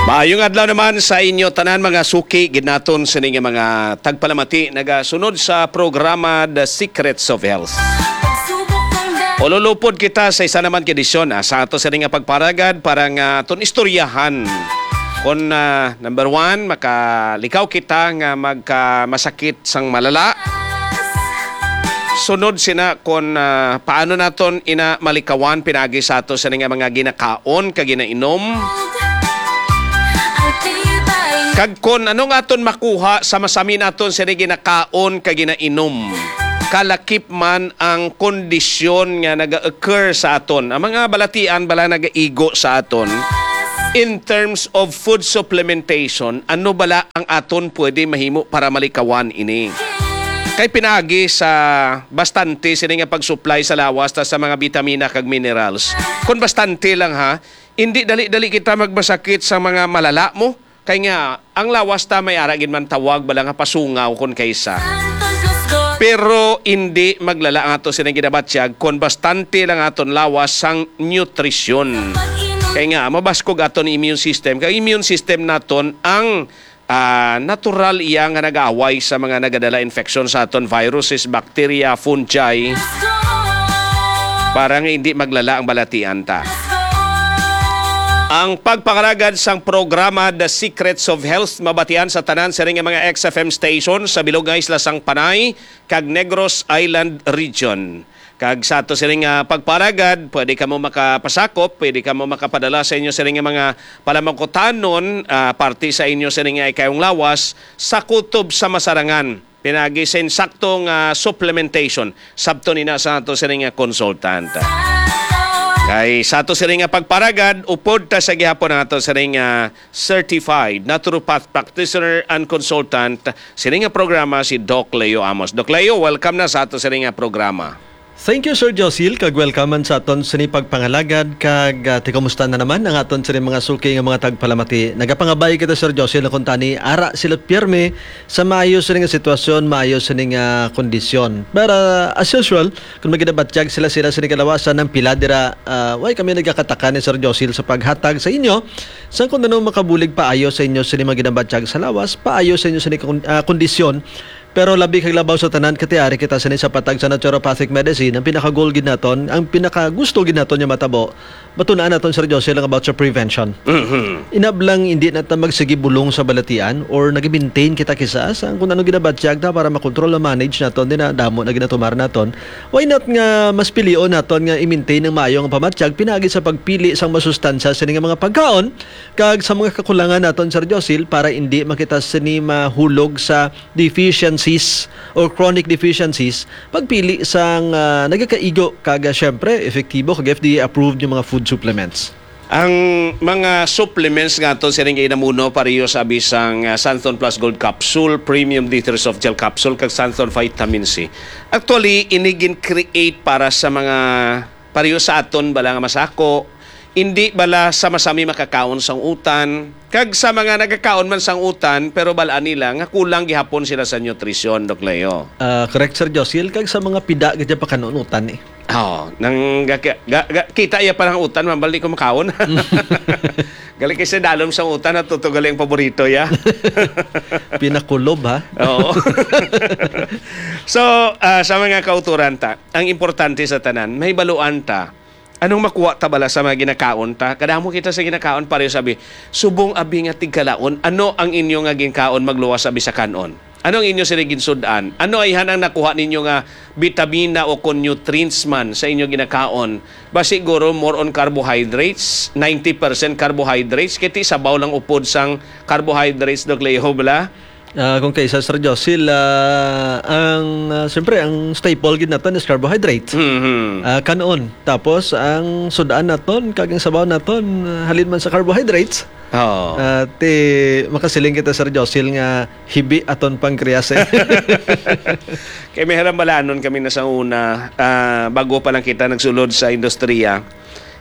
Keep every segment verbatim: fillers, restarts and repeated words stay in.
Maayong adlaw naman sa inyo tanan, mga suki gid naton sini nga mga tagpalamati nagasunod sa programa The Secrets of Health. Ululupod kita sa isa naman ka edisyon, ah, sa ato sini nga pagparagad para nga aton istoryahan. Kung, ah, number one, makalikaw kita nga magkamasakit sang malala. Sunod sina kon, ah, paano naton ina malikawan pinaagi sa ato sini nga mga ginakaon kag ginainom. Kag kon ano nga aton makuha sa masami naton sini ginakaon kag ginainom. Kalakip man ang kondisyon nga naga-occur sa aton. Ang mga balatian bala nagaigo sa aton in terms of food supplementation, ano bala ang aton pwede mahimo para malikawan ini? Kay pinaagi sa bastante sini nga pag-supply sa lawas ta sa mga bitamina kag minerals. Kon bastante lang ha, hindi dali-dali kita magmasakit sa mga malala mo. Kay nga, ang lawas ta may ara gid man tawag bala nga pasungaw kon kaysa. Pero hindi maglala ang ato sini ginabatyag kon bastante lang aton lawas sang nutrisyon. Kay nga, mabaskog aton immune system. Kay immune system naton ang, ah, natural iya nga nag-aaway sa mga nagadala infection sa aton, viruses, bacteria, fungi, para nga hindi maglala ang balatian ta. Ang pagpangalagad sang programa The Secrets of Health mabatian sa tanan sining nga mga X F M station sa bilog nga isla sang Panay kag Negros Island Region. Kag sa ato sining nga pagparagad, pwede kamo makapasakop, pwede kamo makapadala sa inyo sining nga mga palamangkutanon, ah, parte sa inyo sining nga ikayong lawas sa kutob sa masarangan. Pinagi sa insakto nga supplementation, sabton ina sa ato sining nga consultant. Kay sa ato sining nga pagparagad, upod ta sa gihapon ang ato sining nga certified naturopath practitioner and consultant sining nga programa, si Doc Leo Amos. Doc Leo, welcome na sa ato sining nga programa. Thank you, Sir Josil, kag welcome man sa aton sini pagpangalagad, kag, ah, ti kumusta na naman ang aton sini mga suki nga mga tagpalamati. Nagapangabay kita, Sir Josil, na kuntani ara sila pirme sa maayo sini nga sitwasyon, maayo sini nga kondisyon. Pero, as usual, kung maginabatyag sila, sila sini kalawasan ng pila dira, ah, way kami nagakataka ni Sir Josil sa paghatag sa inyo sang kung ano makabulig paayo sa inyo sini maginabatyag sa lawas, paayo sa inyo sini kon-, ah, kondisyon. Pero labi kag labaw sa tanan, katiari kita sini sa patag sa naturopathic medicine. Ang pinaka-goal gid naton, ang pinaka-gusto gid naton nga matabo, matun-an naton, Sir Jose, lang about sa prevention. Mhm. Inablang hindi na ta magsigi bulong sa balatian or nag-maintain kita kisa sa kung ano ginabatyag ta para makontrol, ma-manage naton, din na damo na ginatumar naton. Why not nga mas pilion naton nga i-maintain ang maayo nga pamatyag pinaagi sa pagpili sang masustansya sini nga mga pagkaon kag sa mga kakulangan naton, Sir Josil, para hindi makita sini mahulog sa deficiencies or chronic deficiencies, pagpili sang, ah, nagakaigo kag, ah, syempre, epektibo kag F D A approved yung mga food supplements? Ang mga supplements nga aton sining ginamuno, pareho sa abi sang, ah, Santon Plus Gold Capsule, Premium D three Soft Gel Capsule, kag Santon Vitamin C. Actually, ini gin-create para sa mga pareho sa aton bala nga masako, hindi bala sa masami makakaon sang utan, kag sa mga nagakaon man sang utan, pero bal-an nila nga kulang gihapon sila sa nutrisyon, Doc Leo. Ah, correct, Sir Josil, kag sa mga pida gid pakanunutan eh. Oh, nang ga-, ga-, ga-, kita iya pa ng utan, mambal di ko makaon. Gali kasi dalom sa utan, natutugal yung paborito ya. Pinakulob, ha? Oo. So, ah, sa mga kauturan ta, ang importante sa tanan, may baluan ta. Anong makuha ta bala sa mga ginakaon ta? Kadamo kita sa ginakaon, pareho sabi, subong abi nga tigkalaon, ano ang inyo nga ginkaon magluwas abi sa kanon? Ano ang inyo sini ginsud-an? Ano ayhan ang nakuha ninyo nga bitamina o kon nutrients man sa inyo ginakaon? Ba siguro more on carbohydrates, ninety percent carbohydrates, kay ti sabaw lang upod sang carbohydrates, Doc Leo, bala? Ah, kung kaysa, Sir Josil, ah, ang, ah, siyempre, ang staple gid naton is carbohydrates. Mhm. Ah, kanon. Tapos, ang sud-an naton, kag ang sabaw naton, ah, halin man sa carbohydrates. Oo. Ah, ti, makasiling kita, Sir Josil, nga hibi aton pancreas, eh. Kay may harambalanon kami na sa una, ah, bago pa lang kita nagsulod sa industriya.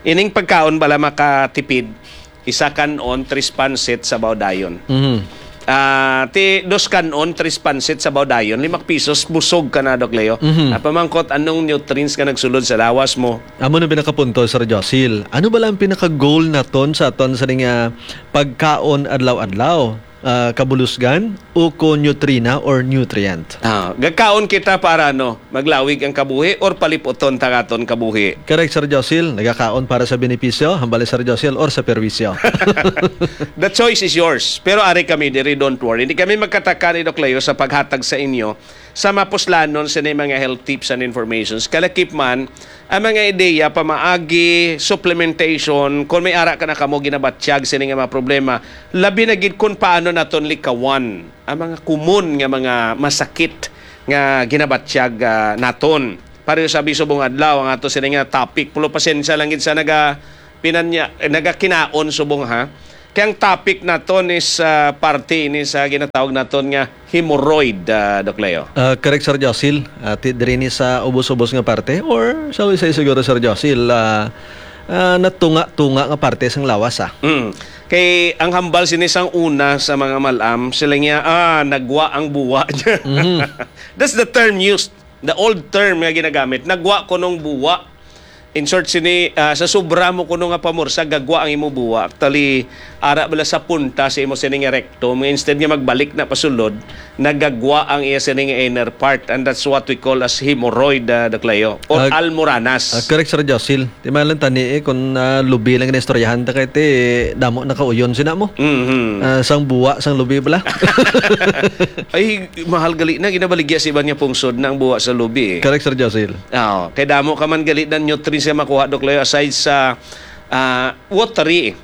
Ining pagkaon bala makatipid, isa kanon, tris pansit, sabaw dayon. Mhm. Ah, ti dos kanon, tres pansit sa dayon, lima ka pisos, busog ka na, Doc Leo. Mhm. Ah, pamangkot, anong nutrients nga nagsulod sa lawas mo? Amo na pinakapunto, Sir Josil. Ano bala ang pinaka-goal naton sa aton sa ning, ah, pagkaon adlaw-adlaw? Ah, kabulusgan o ko nutrina or nutrient? Ah, gakaon kita para, ano, maglawig ang kabuhi or paliputon ta aton kabuhi? Correct, Sir Josil. Nagakaon para sa benepisyo, hambal ni Sir Josil, or sa perwisyo. The choice is yours. Pero ari kami diri, don't worry. Hindi kami magkataka ni Doc Leo sa paghatag sa inyo sa mapuslanon sini mga health tips and informations. Kalakip man, ang mga ideya pamaagi, supplementation, kung may ara ka na kamo ginabatyag sini nga mga problema, labi na gid kung paano naton likawan ang mga common nga mga masakit nga ginabatyag, ah, naton. Pareho sa subong adlaw ang ato sini nga topic. Pero pasensya lang gid sa naga-, pinanya-, nagakinaon subong, ha. Kay ang topic naton is, ah, parte ini sa ginatawag naton nga hemorrhoid, ah, Doc Leo. Ah, correct, Sir Josil. Ah, ti-, diri ni sa ubos-ubos nga parte, or sa isa siguro, Sir Josil, ah, ah, natunga-tunga nga parte sang lawas, ah. Mm. Kay ang hambal sini sang una sa mga mal-am, sila niya, ah, nagwa ang buwa niya. Mhm. That's the term used. The old term nga ginagamit, nagwa kunong buwa. In short, sini, ah, sa sobra mo kuno nga pamursa, gagwa ang imo buwa. Actually, ara bala sa punta sa imo sini nga rectum, nga instead nga magbalik na pasulod, nagagwa ang iya sini nga inner part, and that's what we call as hemorrhoid, ah, Doc Leo, or Ah, almoranas. Ah, correct, Sir Josil. Di man lang tani eh, kung, ah, lubi lang na istoryahan ta kay ti, damo nakauyon sina mo. Mhm. Ah, sang buwa, sang lubi bala. Ay, mahal gali na, ginabaligya sa iban nga pungsod na ang buwa sa lubi, eh. Correct, Sir Josil. Oo, kay damo ka man gali na nutrients nga makuha, Doc Leo, aside sa, ah, watery.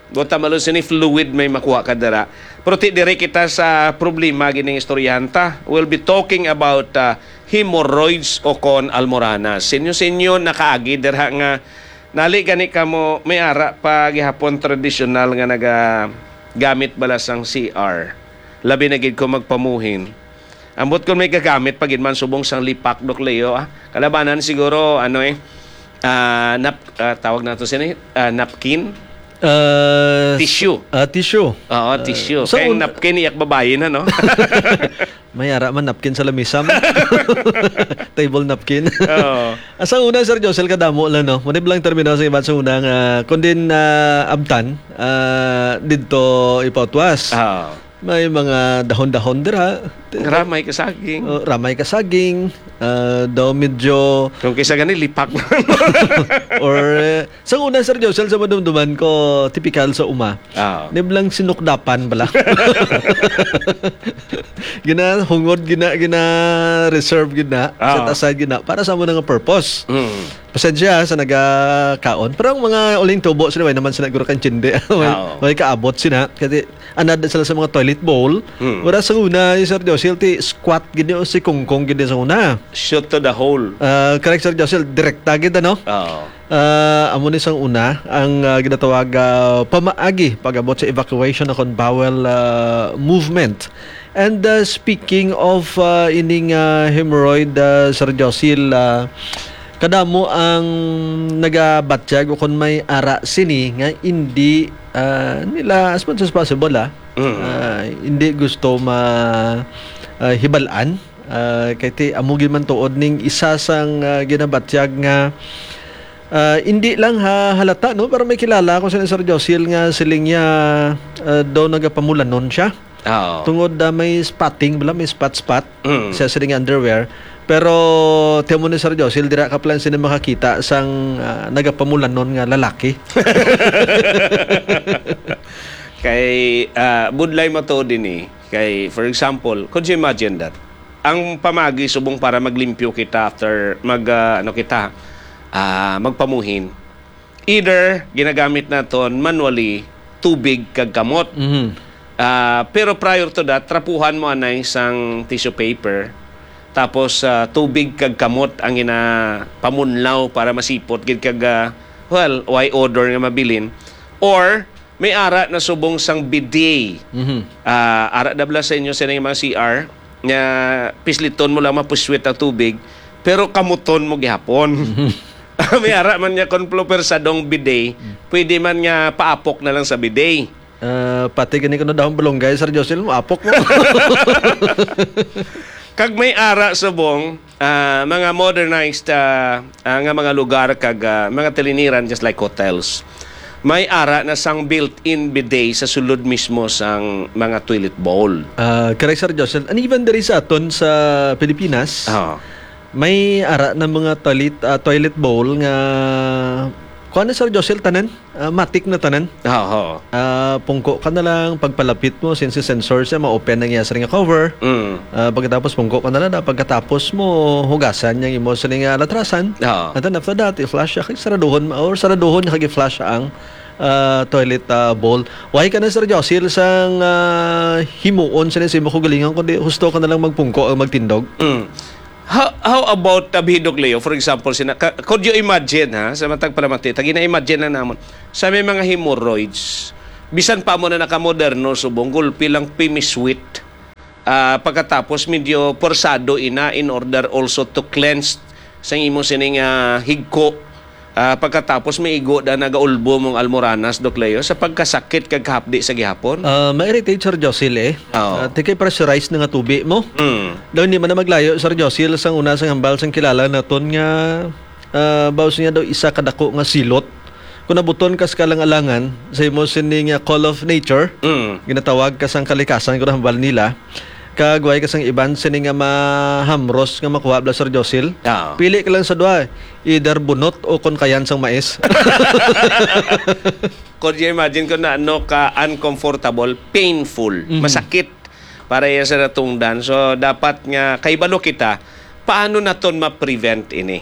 Watermelon, sini fluid may makuha ka dira. Pero ti diri kita sa problema gining istoryahan ta. We'll be talking about, ah, hemorrhoids o kon almoranas. Sinyo-sinyo nakaagi dira nga nali gani kamo may ara pa gihapon tradisyonal nga nagagamit bala sang C R. Labi na gid kung magpamuhin. Ambot kon may gagamit pa gid man subong sang lipak, Doc Leo, ah. Kalabanan siguro, ano eh, ah, nap-, ah, tawag nato sini, ah, napkin? Ah, Tissue. Ah, tissue. Oo, Ah, tissue. sa Kay un- napkin, iyak babayi na, no? May ara man napkin sa lamisa mo. Table napkin. Oo. Ah, sa una, Sir Josel, kadamo lang, no? Muna lang termino sa iban sa una nga, kung din, ah, abtan, ah, didto ipautwas. Oo. May mga dahon-dahon dira. Ramay ka saging. Oh, ramay ka saging, ah, daw medyo Kung kisa gani, lipak. Or, eh, sa una, Sir Josel, sa madumduman ko, tipikal sa uma. Ah. Niblang sinukdapan bala. Ginahungod, gina-, gina-reserve, gina-, Ah. set aside, gina-, para sa amo na nga purpose. Mm. Pasensya sa nagakaon. Pero ang mga uling tubo, sila, way naman sila guro kang tindi. Way, Ah, oo. way kaabot sila. Kasi anad sila sa mga toilet bowl. Hmm. Wala sa una, yung Sir Josil, ti squat gid o si Kongkong gid sa una. Shoot to the hole. Ah, correct, Sir Josil. Direkta gid, ano? Oo. Ah, amo ni sang una, ang, ah, ginatawag, ah, pamaagi pag-abot sa evacuation o kon bowel, ah, movement. And, ah, speaking of, ah, ining, ah, hemorrhoid, ah, Sir Josil, ah, kadamo ang nagabatyag o kon may ara sini nga indi, ah, nila, as much as possible, ah, Mm. ah, hindi gusto ma-, ah, hibalaan. Ah, kay ti-, amo gid man tuod ning isa sang, ah, ginabatyag nga, ah, hindi lang ha-, halata, no? Pero may kilala ko sa Sir Josil nga siling niya, ah, daw nagapamulanon siya. Oo. Tungod, ah, may spotting bala, may spot-spot Mm. sa siling underwear. Pero timo ni Sir Josil, dira ka plan sila makakita sang, ah, nagapamulanon nga lalaki. Kay, ah, budlay mo to din eh. Kay, for example, could you imagine that? Ang pamagi subong para maglimpyo kita after mag, ah, ano kita, ah, magpamuhin. Either ginagamit naton manually tubig kag kamot. Mhm. Ah, pero prior to that, trapuhan mo anay sang tissue paper. Tapos, ah, tubig kag kamot ang ginapamunlaw para masipot gid kag, ah, well, way odor nga mabilin. Or may ara na subong sang bidet. Mhm. Ah, ara dabla sa inyo sa inyong mga C R nga pisliton mo lang mapuswit ang tubig, pero kamuton mo gihapon. Mhm. May ara man niya kon plopersadong bidet, Mm. pwede man nga paapok na lang sa bidet. Ah, pati gani kuno dahon balunggay, Sir Josel, maapok mo. Kag may ara subong, ah, mga modernized, ah, ah, nga mga lugar kag, ah, mga tiliniran, just like hotels. May ara na sang built-in bidet sa sulod mismo sang mga toilet bowl. Ah, correct, Sir Josel. And even diri sa aton sa Pilipinas, Oo. may ara na mga toilet, ah, toilet bowl nga, kuwan na, Sir Josel, tanan? Ah, matik na tanan. Oo. Ah, pungko ka na lang, pagpalapit mo, since sensor siya, ma-open ang iya siring nga cover. Mm. Ah, pagkatapos, pungko ka na lang, na pagkatapos mo, hugasan niya imo siring nga latrasan. Oo. And then after that, i-flush siya, kag saraduhon, or saraduhon niya, kag i-flush ang, ah, toilet, ah, bowl. Why ka na, Sir Josil, sang, ah, himuon siya sa imo kaugalingon, kundi husto ka na lang magpungko ang magtindog? Mm. How, how about, uh, Bidok Leo, for example, sina, ka, could you imagine, ha, sa matag palamati, tagi na imagine lang namon, sa may mga hemorrhoids, bisan pa mo na nakamoderno, subong gulpi lang pimiswit, ah, pagkatapos medyo porsado ina in order also to cleanse sang imo sining, ah, higko. Ah, pagkatapos may igo da nagaulbo mong almoranas, Doc Leo, sa pagkasakit kag kahapdi sa gihapon? Ah, ma-irritate, Sir Josil, eh. Oo. Ah, ti kay pressurized na nga tubi mo. Mm. Daw hindi man na maglayo, Sir Josil, sang una sang hambal sang kilala naton nga, ah, baos niya daw isa ka dako nga silot. Kung nabuton ka sa kalang-alangan sa imo sining, ah, call of nature, Mm. ginatawag ka sang kalikasan, kung hambal nila, kag way ka sang iban sini nga mahamros nga makuha, bala, Sir Josil. Ah. Pili ka lang sa duha, either bunot o kon kayan sang mais. Could you imagine kung na, ano ka uncomfortable, painful, Mhm. masakit para iya sa natungdan? So, dapat nga kahibalo kita, paano naton ma-prevent ini?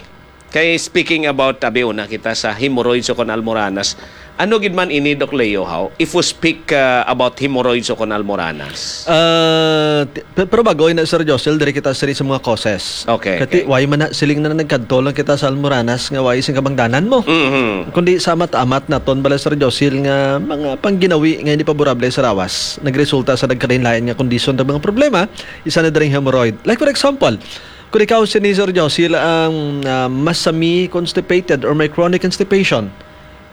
Kay speaking about, abi, una kita sa hemorrhoids o kon almoranas, ano gid man ini, Doc Leo, how? If we speak, uh, about hemorrhoids o kon almoranas. Ah, ti-, pe-, pero bago na, Sir Josel, diri kita sini sa mga causes. Okay, Kati, okay. why man na, siling na nagkadto lang kita sa almoranas nga why sing kabangdanan mo? Mhm. Kundi sa amat-amat naton, bala, Sir Josel, nga mga pangginawi nga hindi paborable sa lawas, nagresulta sa nagkalain-lain nga kondisyon ng mga problema, isa na diri ang hemorrhoid. Like, for example, kung ikaw sini, Sir Josil, ang, ah, masami constipated or may chronic constipation,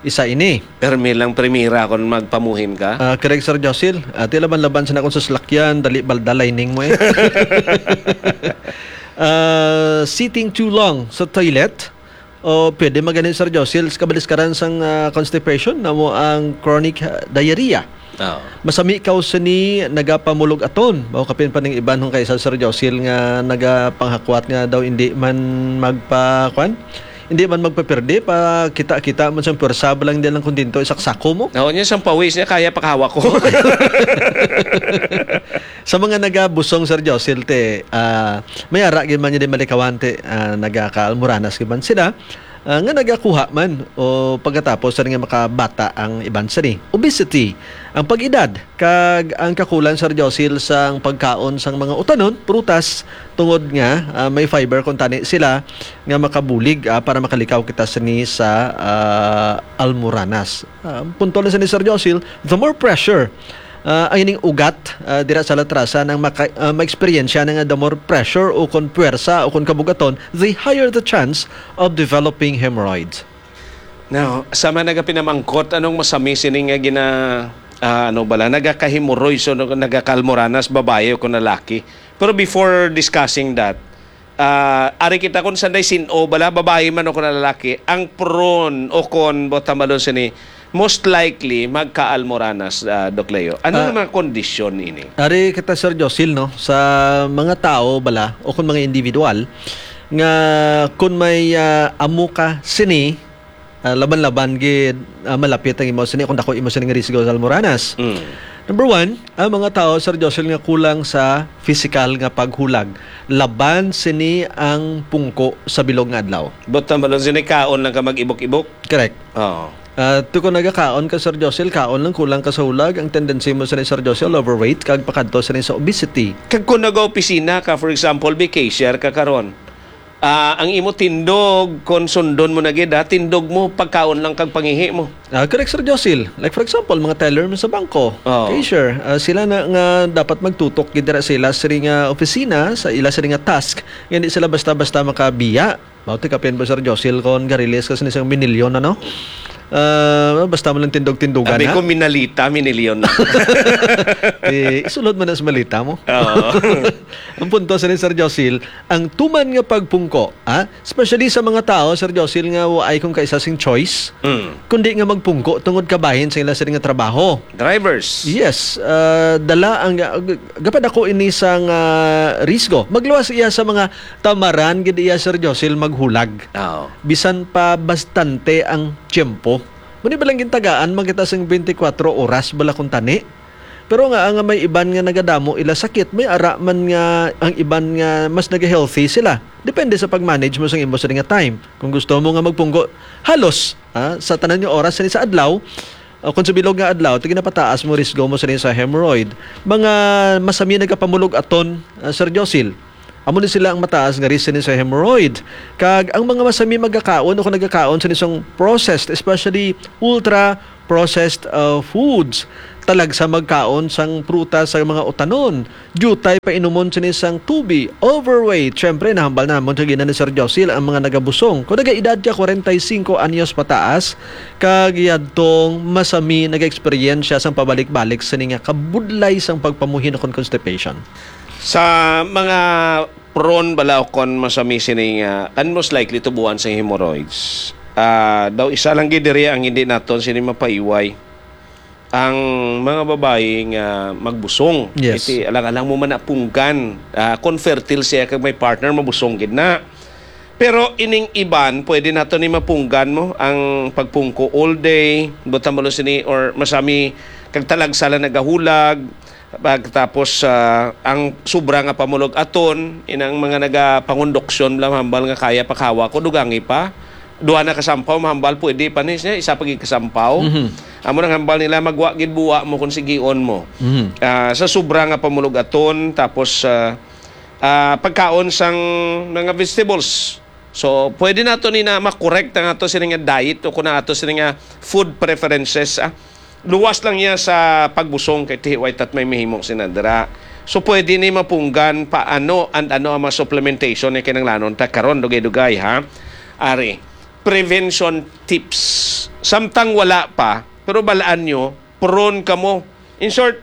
isa ini. Permi lang primira kon magpamuhin ka. Ah, correct, Sir Josil. Ah, ti laban-laban sa nakon sa salakyan, dali balda lining mo eh. Ah, sitting too long sa toilet. O pwede man gani, Sir Josil, sa kabaliskaran sang, ah, constipation, namo ang chronic, ah, diarrhea. Oo. Masami kaw sini nagapamulog aton. Mao kapin pa ning iban hong kaisa, Sir Josil, nga nagapanghakwat nga daw hindi man magpa-, kwan? Hindi man magpapirdi, pa kita-kita man sang pwersa, balang di lang kontento, isaksako mo. Oo, niya sang pawis niya, kaya pakahawak ko. Sa mga nagabusong, Sir Josil, te, ah, may ara gid man niya di malikawan, te, ah, nagakaalmoranas gid man sila. Ah, nga nagakuha man o pagkatapos sa nga makabata ang iban sini. Obesity, ang pag-edad, kag ang kakulang, Sir Josil, sang pagkaon sang mga utanon, prutas, tungod nga, ah, may fiber kuntani sila nga makabulig, ah, para makalikaw kita sini sa, ah, almoranas. Ah, punto lang sini, Sir Josil, the more pressure, ah, ang ining ugat, ah, dira sa latrasan ang maka-, ah, ma-eksperyensya na nga the more pressure o kon puwersa o kon kabugaton, the higher the chance of developing hemorrhoids. Now, sama nagapinamangkot, anong masami sini nga gina-, ah, ano bala, nagakahemorrhoids o nagakaalmoranas, babayi o kon lalaki? Pero before discussing that, ah, ari kita kon sanday sin-o bala, babayi man o kon lalaki, ang prone o kon botamalon sini, most likely magkaalmoranas, ah, Doc Leo. Ano Ah, nga mga kondisyon ini? Ari kita, Sir Josil, no, sa mga tao bala o kon mga individual nga kon may, ah, amo ka sini, ah, laban-laban gid, ah, malapit ang imo sini kung dako imo sini nga risgo sa almoranas. Mm. Number one, ang mga tao, Sir Josil, nga kulang sa pisikal nga paghulag. Laban sini ang pungko sa bilog nga adlaw. Botamalon sini, kaon lang ka mag-ibok-ibok. Correct. Oo. Ah, ti kon nagakaon ka, Sir Josil, kaon lang, kulang ka sa hulag, ang tendency mo sini, Sir Josil, overweight, kag pakadto sini sa obesity. Kag kung nag-opisina ka, for example, may cashier ka karon, ah, ang imo tindog, kon sundon mo na gid, ha, tindog mo, pagkaon lang kag pangihi mo. Ah, correct, Sir Josil. Like, for example, mga teller mo sa bangko, Oo. cashier, ah, sila na nga dapat magtutok gid dira sa ila sini nga opisina, sa ila sini nga task, nga hindi sila basta-basta makabiya. Mao ti kapin ba, Sir Josil, kon garilis ka sini sang minilyon, ano? Ah, basta mo lang tindog-tindugan, Abi ha? ko, minalita, minilyon na. Di, isulod mo na sa malita mo. Oo. Ang punto sa ni Sir Josil, ang tuman nga pagpungko, ha? Especially sa mga tao, Sir Josil, nga waay kung kaisa sing choice, Mm. kundi nga magpungko tungod kabahin sa ila sila nga trabaho. Drivers. Yes, ah, dala ang, ah, g-, gapadako ini sang, ah, risgo. Magluwas iya sa mga tamaran gid iya, Sir Josil, maghulag. Oo. Bisan pa bastante ang tiyempo. Muni ba lang gintagaan man kita sing twenty-four oras bala kung tani? Pero nga, nga may iban nga nagadamo ila sakit, may ara man nga ang iban nga mas naga-healthy sila. Depende sa pag-manage mo sa imo sini nga time. Kung gusto mo nga magpungko, halos, ah, sa tanan nga oras sini sa adlaw, o kung sa bilog nga adlaw, ti ginapataas mo risgo mo sini sa hemorrhoid. Mga masami nagapamulog aton, ah, Sir Josil. Amo ni sila ang mataas nga risk sini sa hemorrhoid. Kag ang mga masami magakaon o kung nagakaon sini sang processed, especially ultra processed, uh, foods, talagsa magkaon sang prutas sa mga utanon, diutay pa inumon sini sang tubi, overweight. Siyempre, nahambal namon sa gina ni Sir Josil ang mga nagabusong. Kung nagaedad ka forty-five anyos pataas, kag yadtong masami nag-eksperyensya sang pabalik-balik sini nga kabudlay sang pagpamuhin o kon constipation. Sa mga prone bala o kon masami sini nga, and most likely tubuan sa hemorrhoids, ah, daw isa lang gid diri ang hindi naton sini mapaiway. Ang mga babayi nga magbusong, Yes. iti alang-alang mo man napunggan, ah, kon fertile siya kag may partner, mabusong gid na. Pero ining iban, pwede nato ni mapunggan mo ang pagpungko all day, buta mo lang sini, or masami kag talagsa lang nagahulag, pagtapos, ah, ang sobra nga pamulog aton, inang mga nagapangonduksyon lang hambal nga kaya pakawa ko, dugangi pa. Duha na ka sampaw, mahambal, pwede pa ni siya, isa pa gid ka sampaw. Mhm. Amo nang hambal nila, magwa gid buwa mo kung sigion mo. Mhm. Ah, sa sobra nga pamulog aton, tapos, ah, ah, pagkaon sang mga vegetables. So, pwede nato ni na makorek ang ato sini nga diet o kung ato sini nga food preferences, ah. Luwas lang niya sa pagbusong kay tihiway tat may mahimo sina dira. So, pwede ni mapunggan paano and ano ang mga supplementation nga kinahanglanon ta karon, dugay-dugay, ha. Ari, prevention tips. Samtang wala pa, pero balaan nyo, prone kamo. In short,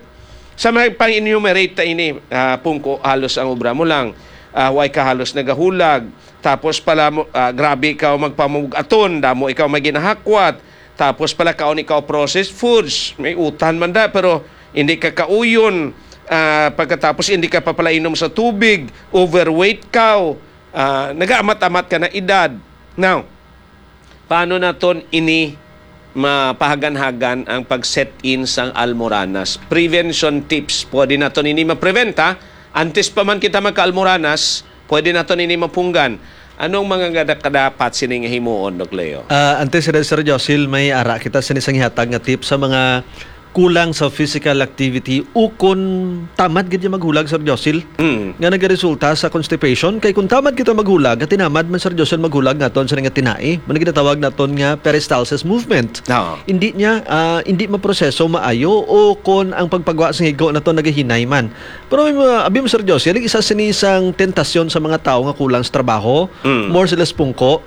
sa may pang-enumerate ta ini, ah, pungko, halos ang obra mo lang, ah, way ka halos nagahulag, tapos pala mo, ah, grabe ikaw magpamug-aton, damo ikaw may ginahakwat, tapos pala kaon ikaw processed foods, may utan man da, pero hindi ka kauyon, ah, pagkatapos hindi ka pa pala inom sa tubig, overweight ka, ah, nagaamat-amat ka na edad. Now, paano naton ini mapahagan-hagan ang pag-set in sang almoranas? Prevention tips. Pwede naton ini ma-prevent, ha? Antes pa man kita magka-almoranas, pwede naton ini mapunggan. Anong mga kada-, kadapat sini nga himuon, Doc Leo? Ah, antes, Sir, Sir Josil, may ara kita sini sang ihatag nga tip sa mga kulang sa physical activity ukon tamad gid niya maghulag, Sir Josil, Mm. nga nagaresulta sa constipation. Kay kung tamad kita maghulag, at tinamad man, Sir Josil, maghulag naton sa nga tinai, man ginatawag naton nga peristalsis movement. Oo. Hindi niya, ah, hindi maproseso maayo o kon ang pagpagwa sa higo nato nagahinay man. Pero may mga, abi mo, Sir Josil, isa sini sang tentasyon sa mga tawo nga kulang sa trabaho, Mm. more sila sa pungko.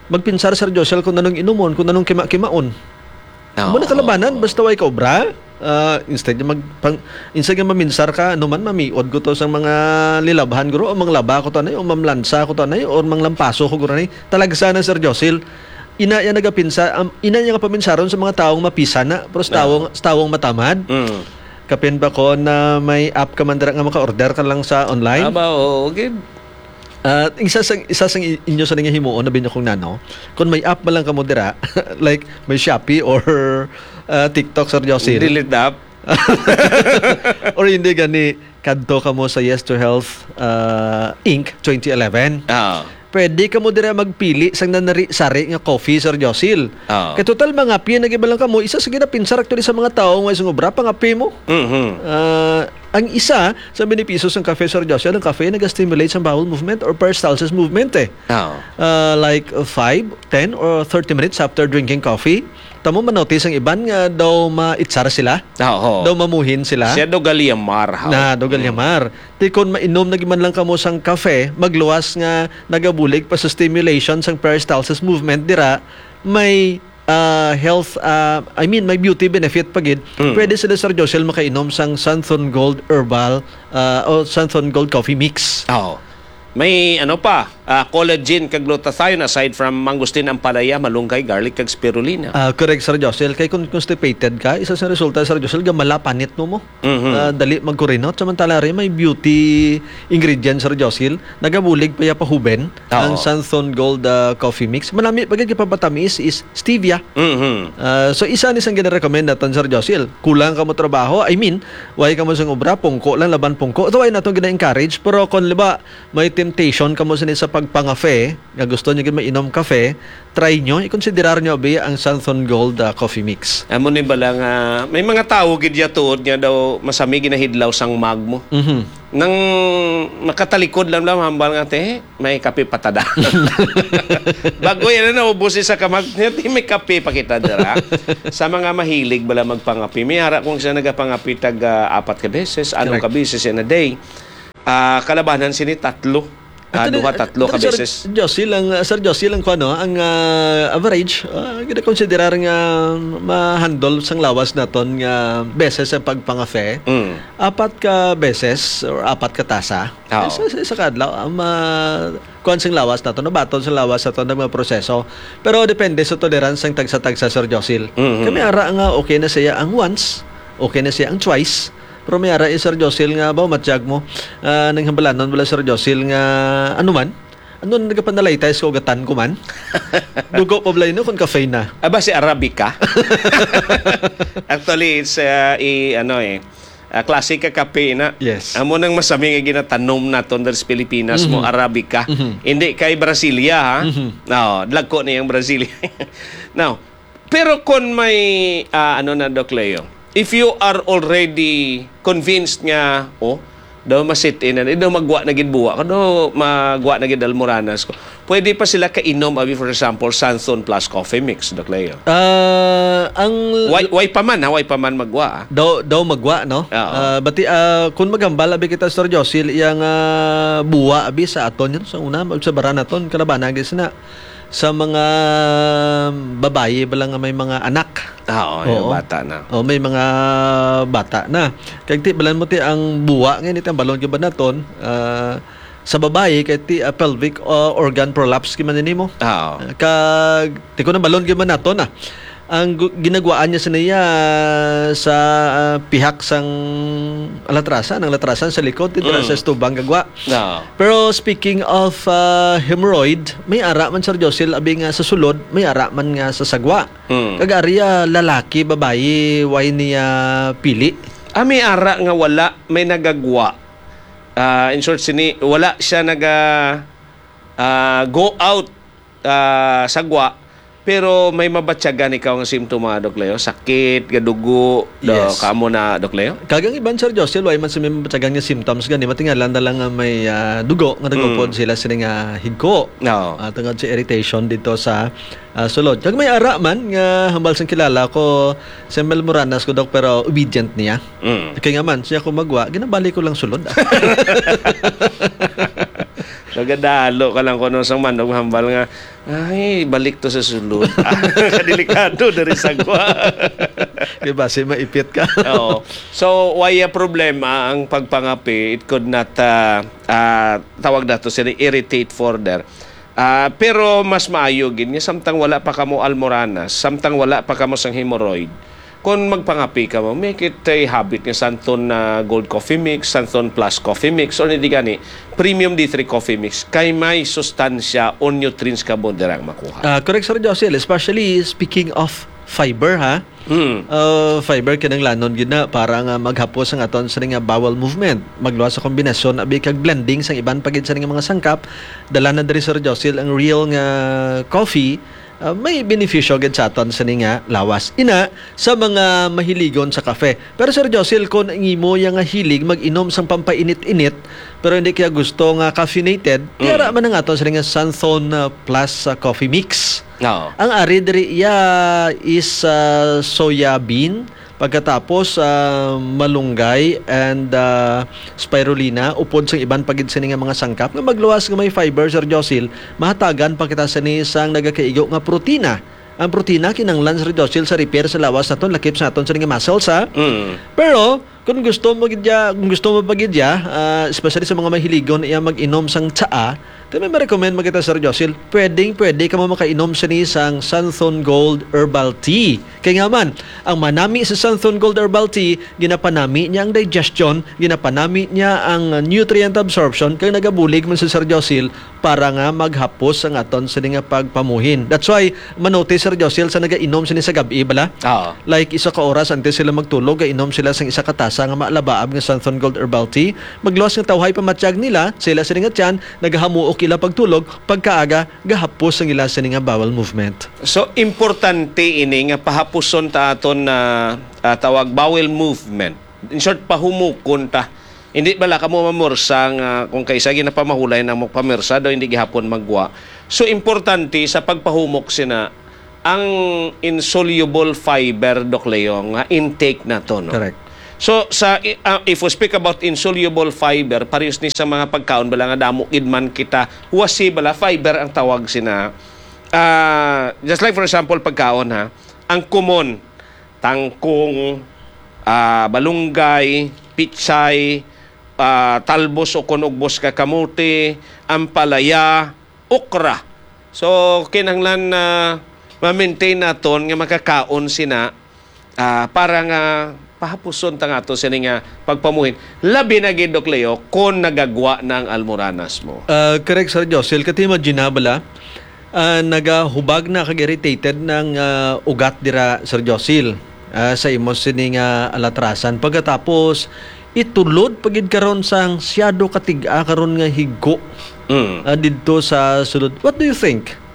Magpinsar, Sir Josil, kung anong inumon, kung anong kima-kimaon. Oo, Mo na kalabanan, oo. basta way ka obra. Ah, instead nga mag-, pang-, instead nga maminsar ka, ano man, mamiod ko to sa mga lilabhan, guro, o manglaba ko to, anay, o mamlansa ko to, anay, o manglampaso ko, guro, anay. Talagsa na, Sir Josil. Ina niya nagapinsa-, am-, ina niya nga paminsaron sa mga taong mapisan na, pero sa Ah. taong, sa taong matamad. Mm. Kapin ba ko na may app ka man dira nga maka-order ka lang sa online? Aba, oo, gid. Ah, isa sang, isa sang i-, inyo sa nga himuon, abi niyo kung nano, kung may app man lang kamo dira, like may Shopee or, ah, TikTok, Sir Josil. Delete the app. Or hindi gani, kadto kamo sa Yes to Health, ah, Inc twenty eleven. Ah. Pwede kamo dira magpili sang nanari-sari nga coffee, Sir Josil. Ah. Kay total, mangape na gid man lang kamo, isa sa ginapinsar actually sa mga tawo nga isang obra, pangape mo. Mhm. Ah, ang isa sa benepisyo sang kape, Sir Joshua, ang kape naga-stimulate sa bowel movement or peristalsis movement, eh. Oo. Ah, like, uh, five, ten, or thirty minutes after drinking coffee, tamo ma-notice ang iban nga daw maitsar sila, Oo. daw mamuhin sila. Siya daw galyamar, ha? Na, daw Mm. galyamar. Ti kon mainom na gid man lang kamo sang kape, magluwas nga nagabulig pa sa stimulation sang peristalsis movement dira, may ah, health, ah, I mean, may beauty benefit pa gid. Mm. Pwede sila, Sir Josel, makainom sang Santhon Gold Herbal, ah, o Santhon Gold Coffee Mix. Oo. May ano pa, ah, collagen kag glutathione aside from mangosteen, ampalaya, malunggay, garlic, kag spirulina. Ah, correct, Sir Josel. Kay kung constipated ka, isa sa resulta, Sir Josel, gamala panit mo mo. Mhm. Ah, dali magkurinot. Samantala rin, may beauty ingredient, Sir Josel. Nagabulig pa ya pa huben Oo. ang Santhon Gold, ah, Coffee Mix. Malami pa gid kay pamatamis is stevia. Mhm. Ah, so, isa ni sang gina-recommend naton, Sir Josel. Kulang ka mo trabaho, I mean, way ka mo sang obra, pungko lang, laban pungko. Ito ay naton gina-encourage. Pero kung, liba, may temptation ka mo sini sa pagpangafe, nga gusto niyo gid mainom kafe, try nyo, ikonsiderar nyo abi ang Santhon Gold, ah, Coffee Mix. Amo ni bala nga, may mga tawo gid ya tuod nga daw masami ginahidlaw sang mug mo. Mhm. Nang makatalikod lang lang, hambal nga, "Te, may kape pa ta da." Bago yan na naubos isa ka mug, "Te, may kape pa kita dira." Sa mga mahilig bala magpangape, may ara kung siya nagapangape tag, ah, apat ka beses, ano Correct. ka beses in a day. Ah, kalabanan sini tatlo. Ah, Ato na, duha, tatlo ka ato, Sir beses. Josie lang, ah, Sir Josie lang ko, ano, ang, ah, average, ah, ginakonsiderar nga ma-handle sang lawas naton nga beses ang pagpangafe. Mm. Apat ka beses or apat ka tasa. Oo. Sa, sa, sa kadlaw, ang ma-, kuwan sang lawas naton, nabaton sang lawas naton ang mga proseso. Pero depende sa tolerance sang tagsa-tagsa, Sir Josil. Mhm. Kami ara nga okay na siya ang once, okay na siya ang twice. Pero may ara, eh, Sir Josil, nga ba, matyag mo, ah, nang hambalanon bala, Sir Josil, nga ano man? Ano na nagapanalitay sa ugatan ko man? Dugo pa bala yun, no, kung cafe na. Aba, si Arabica? Actually, it's, uh, i-, ano, eh, ah, klase ka kape na. Yes. Amo nang masami nga ginatanom naton diri sa Pilipinas mo, Mhm. Arabica. Mhm. Hindi kay Brasilia, ha? Mhm. No, dagko ni ang Brasilia. Now, pero kon may, ah, ano na, Doc Leo, if you are already convinced nga, oh, daw masit-in na, daw magwa na gid buwa, daw magwa na gid almoranas ko, pwede pa sila kainom, abi, for example, Santhon plus coffee mix, Doc Leo? Ah, ang Way, way pa man, ha? Way pa man magwa, ah. Daw, daw magwa, no? Oo. Ah, bati, ah, kung maghambal, abi, kita, Sir Josil, iyang, ah, buwa, abi, sa aton, yun, sa una, sa bara naton, kalabanan, gid sina. Sa mga babayi bala nga may mga anak. Ah, oo, yung Oo. bata na. Oh, may mga bata na. Kag ti, balan mo ti ang buwa nga ini, ti ang balon gid ba naton, ah, sa babayi kay ti, ah, pelvic, ah, organ prolapse gid man ini mo. Ah, oo. Ah, kag ti ko na balon gid man naton na. Ang gu-, ginagwaan niya sa niya sa, ah, pihak sang alatrasan, ang latrasan sa likod, ti dira Mm. sa estubang gagwa. No. Pero speaking of, ah, hemorrhoid, may ara man, Sir Josil, abi nga sa sulod, may ara man nga sa sagwa. Mm. Kag ari, ah, lalaki, babayi, way niya pili? Ah, may ara nga wala, may nagagwa. Ah, in short, sini, wala siya naga, ah, go out, ah, sagwa, pero may mabatyagan ikaw nga simptoma, Doc Leo? Sakit, gadugo, do, Yes. kamo na, Doc Leo? Kag ang iban, Sir Josil, way man sa may mabatyagan nga symptoms gani, matingalan na lang nga may, ah, dugo nga nagupod Mm. sila sini nga higko. Oo. Ah, tungod sa irritation dito sa, ah, sulod. Kag may ara man nga hambal sang kilala ko, si Mel Moranas ko, Doc, pero obedient niya. Mm. Kay nga man, siya ko magwa, ginabalik ko lang sulod. Nagadalo ka lang kuno sang manok hambal nga, "Ay, balik to sa sulod." Kadelikado diri sa gwa. Di ba, si maipit ka? Oo. So, why a problema ang pagpangape? It could not, ah, ah, tawag nato sila, irritate further. Ah, pero mas maayo gid nga samtang wala pa kamo almoranas, samtang wala pa kamo sang hemorrhoid, kung magpangape kamo, make it a habit nga Santon na Gold Coffee Mix, Santon Plus Coffee Mix, or hindi gani, Premium D three Coffee Mix, kay may sustansya o nutrients kamo dirang makuha. Ah, correct, Sir Josil, especially speaking of fiber, ha? Hmm. Ah, fiber kinahanglanon gid na para nga maghapos ang aton sini nga bowel movement. Magluwas sa kombinasyon abi kag blending sang iban pa gid sini nga mga sangkap. Dala na diri, Sir Josil, ang real nga coffee, ah, may benepisyo gid sa aton sini nga lawas. Ina, sa mga mahiligon sa kafe. Pero, Sir Josil, kung ang imo ya nga hilig mag-inom sang pampainit-init, pero hindi kaya gusto nga caffeinated, Mm. Yara man ang aton sini nga Santhon, ah, Plus, ah, Coffee Mix. Oo. Ang ari diri iya is, ah, soya bean, pagkatapos, ah, malunggay and, ah, spirulina, upod sang iban pa gid sini nga mga sangkap nga magluwas nga may fiber, Sir Josil, mahatagan pa kita sini sang nagakaigo nga protina. Ang protina kinahanglan, Sir Josil, sa repair sa lawas naton, lakip sa aton sini nga muscles, ha? Mm. Pero kung gusto mo gid ya, kung gusto mo pa gid ya, ah, especially sa mga mahiligon iya mag-inom sang tsaa, then may ma-recommend mo kita, Sir Josil. Pwedeng pwede ka mo makainom sini sang Santhon Gold Herbal Tea. Kay nga man, ang manami sa Santhon Gold Herbal Tea, ginapanami niya ang digestion, ginapanami niya ang nutrient absorption, kag nagabulig man si Sir Josil para nga maghapos ang aton sini nga pagpamuhin. That's why, manotis, Sir Josil, sa nagainom sini sa gab-i bala. Oo. Like, isa ka oras antes sila magtulog, gainom sila sang isa ka tasa nga maalabaab nga Santhon Gold Herbal Tea. Magluwas nga tawhay pamatyag nila, sila sini nga tiyan, nagahamuok ila pagtulog, pagkaaga, gahapos ang ila sini nga bowel movement. So, importante ini nga pahapuson ta aton na, ah, tawag bowel movement. In short, pahumukon ta. Hindi bala kamo mamursa nga kung kaisa ginapamahulay na mo pamirsa daw hindi gihapon magwa. So, importante sa pagpahumok sina ang insoluble fiber, Doc Leo, nga intake nato, no? Correct. So, sa, i- ah, if we speak about insoluble fiber, parehas ni sa mga pagkaon bala nga damo gid man kita, huwasi bala, fiber ang tawag sina. Ah, just like for example, pagkaon, ha, ang common, tangkong, ah, balunggay, pichay, ah, talbos o kon ugbos ka kamote, ampalaya, okra. So, kinahanglan na ma-maintain naton nga makakaon sina, ah, para nga pahapuson ta nga ato sini nga pagpamuhin. Labi na gid, Doc Leo, kon nagagwa na ang almoranas mo. Ah, correct, Sir Josil. Kati imagine na bala, ah, nagahubag na kag irritated ng, ah, ugat dira, Sir Josil, ah, sa imo sini nga alatrasan. Pagkatapos, itulod pa gid karon sang siyado katig-a karon nga higko, Mm. ah, didto sa sulod. What do you think?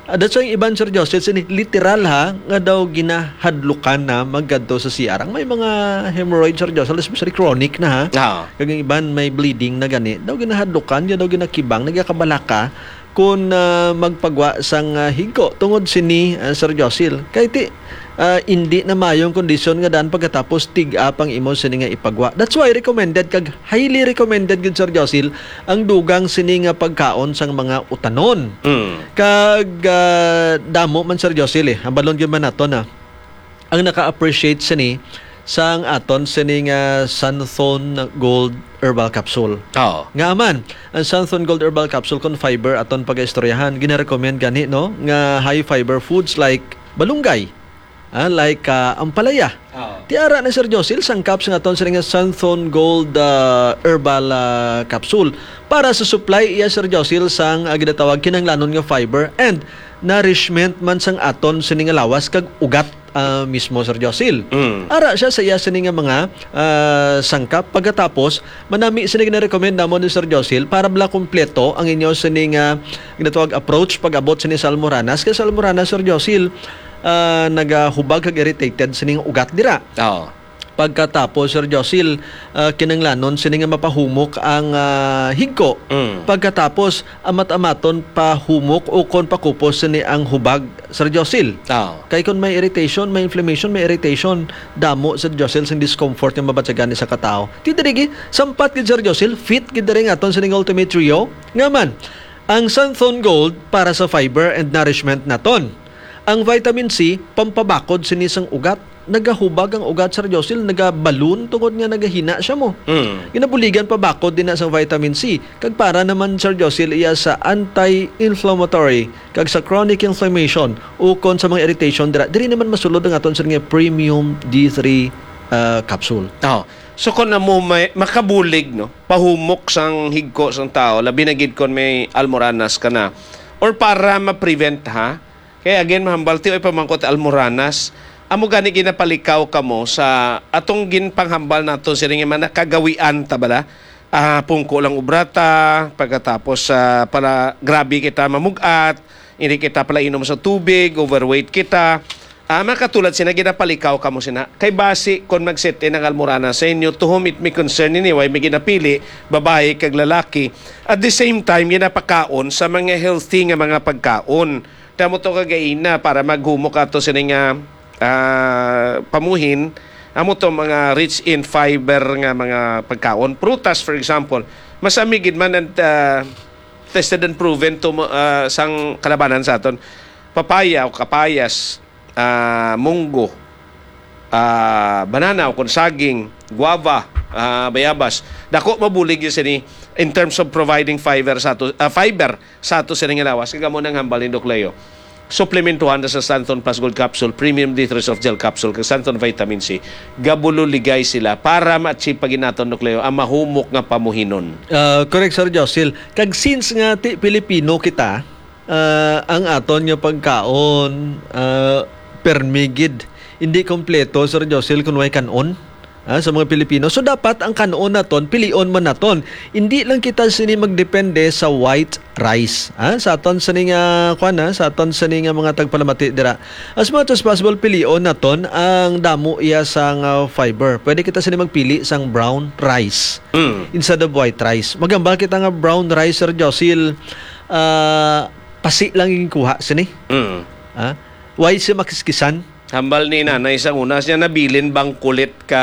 Ah, that's why ang iban, Sir Josil, sini literal ha, nga daw ginahadlukan na magkadto sa C R. Ang may mga hemorrhoid, Sir Josil, especially chronic na ha. Ah. Kag ang iban may bleeding na gani, daw ginahadlukan, ya daw ginakibang, nagakabalaka kung, ah, magpagwa sang, ah, higko tungod sini, ah, Sir Josil. Kay ti, ah, indi na mayong kondisyon nga daan pagkatapos tig-a pang imo sini nga ipagwa. That's why recommended kag highly recommended gid, Sir Josil, ang dugang sini nga pagkaon sang mga utanon. Mm. Kag, ah, damo man, Sir Josil, eh, ang balon gyud man nato na ang naka-appreciate sini sang aton sini nga Santhon Gold Herbal Capsule. Oo. Nga man, ang Santhon Gold Herbal Capsule kon fiber aton pag-istoryahan, ginarecommend gani, no, nga high fiber foods like balunggay, ah, like, ah, ampalaya. Oo. Ti ara na, Sir Josil, sangkap sang aton sini nga Santhon Gold, ah, Herbal, ah, Capsule para sa supply iya, Sir Josil, sang, ah, ginatawag kinahanglanon nga fiber and nourishment man sang aton sini nga lawas kag ugat, ah, mismo, Sir Josil. Mm. Ara siya sa iya sini nga mga, ah, sangkap. Pagkatapos, manami sini gina-recommend namon ni Sir Josil para bala kompleto ang inyo sini nga ginatawag approach pag-abot sini sa almoranas. Kay sa almoranas, Sir Josil, ah, nagahubag kag irritated sini nga ugat dira. Oo. Pagkatapos, Sir Josil, ah, kinanglanon sini nga mapahumok ang, ah, higko. Mm. Pagkatapos, amat-amaton pahumok o kon pakupos sini ang hubag, Sir Josil. Ah. Kay kon may irritation, may inflammation, may irritation, damo, Sir Josil, sing discomfort nga mabatyagan ni sa katao. Ti diri gi, sampat gid, Sir Josil, fit gid diri nga aton sining Ultimate Trio. Nga man, ang Santhon Gold para sa fiber and nourishment naton. Ang vitamin C, pampabakod sini sang ugat. Nagahubag ang ugat, Sir Josil, nagabalon tungod nga nagahina siya mo. Mm. Ginabuligan pa bakod din na sa vitamin C. Kag para naman, Sir Josil, iya sa anti-inflammatory kag sa chronic inflammation ukon sa mga irritation dira. Diri naman masulod ang aton, sir, nga premium D three, ah, capsule. Oh. So kung amo may makabulig, no, pahumok sang higko sang tao, labi na gid kon may almoranas ka na, or para ma-prevent, ha, kay again, mahambal ti oy pamangkot almoranas. Amo gani ginapalikaw kamo sa atong ginpanghambal nato sini nga mga nakagawian ta bala. Ah, pungko lang obra ta, pagkatapos, ah, pala grabe kita mamug-at, hindi kita pala inom sa tubig, overweight kita. Ah, makatulad sina ginapalikaw kamo sina. Kay basi kon mag-sit-in ang almorana sa inyo, to whom it may concern anyway, may ginapili, babayi kag lalaki. At the same time, ginapakaon sa mga healthy nga mga pagkaon. Tamo to kagaina para maghumok ato sini nga, ah, pamuhin, amo to mga rich in fiber nga mga pagkaon. Prutas, for example, masami gid man and, ah, tested and proven to, ah, sang kalabanan sa aton. papaya o kapayas, ah, munggo, ah, banana o kon saging, guava, ah, bayabas. Dako mabulig gyud sini in terms of providing fiber sa ato, ah, fiber sa ato sini nga lawas. Kag amo nang hambal ni Doc Leo. Suplementuhan na sa Santon Plus Gold Capsule, Premium D three Soft Gel Capsule, kag Santon Vitamin C. Gabulo ligay sila para ma-achieve pa gid naton, Doc Leo, ang mahumok nga pamuhinon. Ah, correct, Sir Josil. Kag since nga ti Pilipino kita, ah, ang aton nga pagkaon, ah, permi gid. Hindi kompleto, Sir Josil, kung way kan-on, ah, sa mga Pilipino. So, dapat ang kan-on naton, pilion man naton. Hindi lang kita sini magdepende sa white rice, ah, sa aton sini nga, kwan, ah, sa aton sini nga mga tagpalamati dira. As much as possible, pilion naton ang damo iya sang, ah, fiber. Pwede kita sini magpili sang brown rice Mm. instead of white rice. Magambal kita nga brown rice, Sir Josil, ah, pasi lang yung kuha sini. Mm. Ah, why siya makiskisan? Hambal ni nanay sa una, siya nabilin bang kulit ka,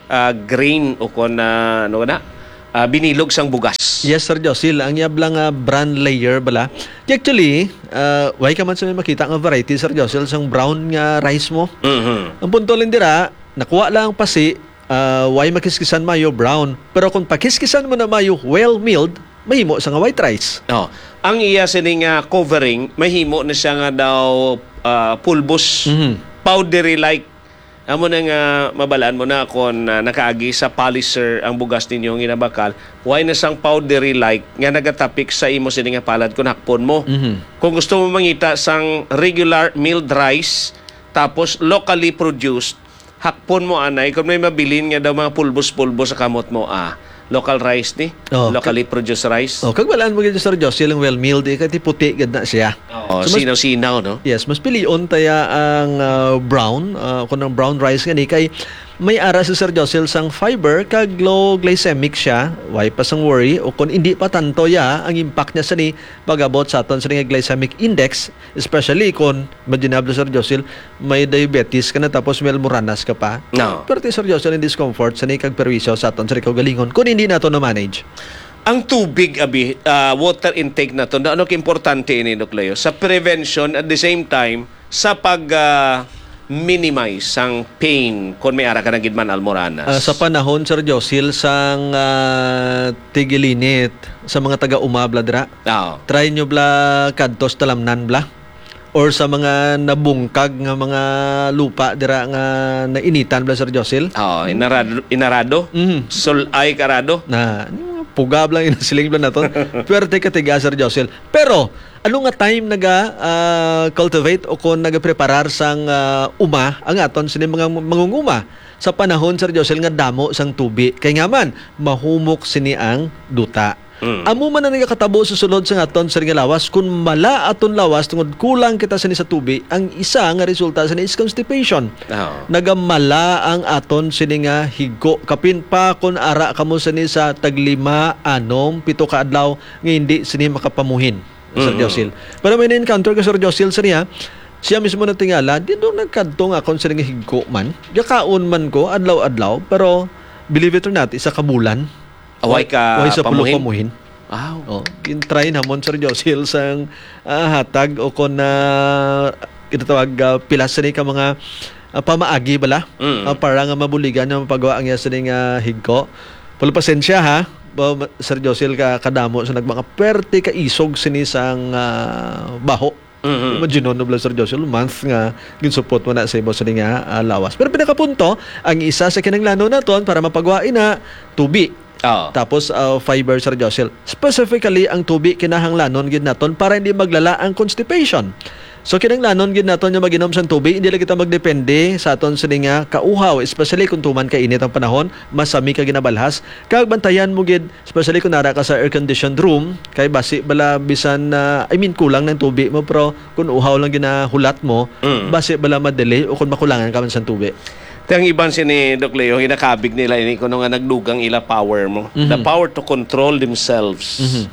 ah, grain o kon, ah, ano na, ah, binilog sang bugas. Yes, Sir Josil. Ang yab lang, ah, bran layer bala. Di actually, ah, why ka man sa may makita nga variety, Sir Josil, sang brown nga rice mo? Mhm. Ang punto lang dira, nakuha lang ang pasi, ah, why makiskisan mayo brown? Pero kung pakiskisan mo na mayo well milled, mahimo sa nga white rice. Oh, ang iya sini nga covering, mahimo na siya nga daw, ah, pulbos, Mhm. powdery like. Amo na nga mabalaan mo na kung, ah, nakaagi sa polisher ang bugas ninyo nga ginabakal, why na sang powdery like nga nagatapik sa imo sini nga palad kung hakpon mo. Mhm. Kung gusto mo mangita sang regular milled rice, tapos locally produced, hakpon mo anay kung may mabilin nga daw mga pulbos-pulbos sa kamot mo, ah, local rice ni, Oh, locally produced rice. Oh, kag balaan mo gid, Sir Josil, ang well milled, eh, kay ti puti gid na siya. Oh, So, mas sinaw-sinaw, no? Yes, mas pilion taya ang, ah, brown, ah, kung ang brown rice gani kay may ara si Sir Josil sang fiber kag low glycemic siya, why pa sang worry, o kung hindi pa tanto ya ang impact niya sa ni pag-abot sa aton sa nga glycemic index, especially kung, imagine na, Sir Josil, may diabetes ka na tapos may almoranas ka pa. No. Pero ti, Sir Josil, ang discomfort sa ni kag perwisyo sa aton sa kaugalingon kung hindi nato na-manage. Ang tubig, abi, ah, water intake naton, ano ka importante ini, Doc Leo? Sa prevention, at the same time, sa pag, ah, minimize sang pain kung may ara ka na gid man almoranas. Ah, sa panahon, Sir Josil, sang, ah, tigilinit sa mga taga-uma bala dira, Oo. try nyo bala kadto sa talamnan bala. Or sa mga nabungkag nga mga lupa dira nga nainitan bala, Sir Josil. Oo, inarado, inarado. Mhm. Sul-ay karado. Na, ano, pugab lang yung siling bala naton. Pwerte ka tiga, Sir Josil. Pero, ano nga time naga, ah, cultivate o kung nagapreparar sang, ah, uma ang aton sini mga mangunguma sa panahon, Sir Josil, nga damo sang tubi? Kay nga man, mahumok sini ang duta. Mm. Amo man ang nagakatabo sa sulod sa aton sini nga lawas. Kung mala aton lawas tungod kulang kita sini sa tubi, ang isa nga resulta sini is constipation. Oo. Nagamala ang aton sini nga higko. Kapin pa kung ara kamo sini sa taglima, anom, pito ka adlaw nga hindi sini makapamuhin, Sir Mhm. Josil. Pero may na-encounter ko, Sir Josil, sa niya, siya mismo natingala, di doon nagkadto nga akon sini nga higko man. Gakaon man ko, adlaw-adlaw, pero believe it or not, isa ka bulan. Away Wa-, ka way sa pulo pamuhin. pamuhin. Aw. Oh, gin-try namon, Sir Josil, sang, ah, hatag o kon, ah, ginatawag, ah, pila sini ka mga, ah, pamaagi bala. Mm. Ah, para nga mabuligan nga mapagawa ang iya sini nga higko. Pero pasensya, ha, ba, ma-, Sir Josil, ka, kadamo sa nagmanga pwerte ka isog sini sang, ah, baho. Mhm. Imagine, no, Blas, Sir Josil, month nga ginsupot mo na sa imo sini nga, ah, lawas. Pero pinakapunto, ang isa sa kinahanglanon naton para mapagwa ina, tubi. Oo. Tapos, ah, fiber, Sir Josil. Specifically, ang tubi kinahanglanon gid naton para hindi maglala ang constipation. So, kinahanglanon gid naton nga mag-inom sang tubi, hindi lang kita magdepende sa aton sini nga kauhaw, especially kung tuman ka init ang panahon, masami ka ginabalhas, kag bantayan mo gid, especially kung nara ka sa air-conditioned room, kay basi bala bisan na, I mean, kulang ng tubi mo, pero kung uhaw lang ginahulat mo, Mm. basi bala ma-delay o kung makulangan ka man sa tubi. Ti ang iban sini, Doc Leo, ginakabig nila ini kuno nga nagdugang ila power mo. The Mhm. power to control themselves. Mhm.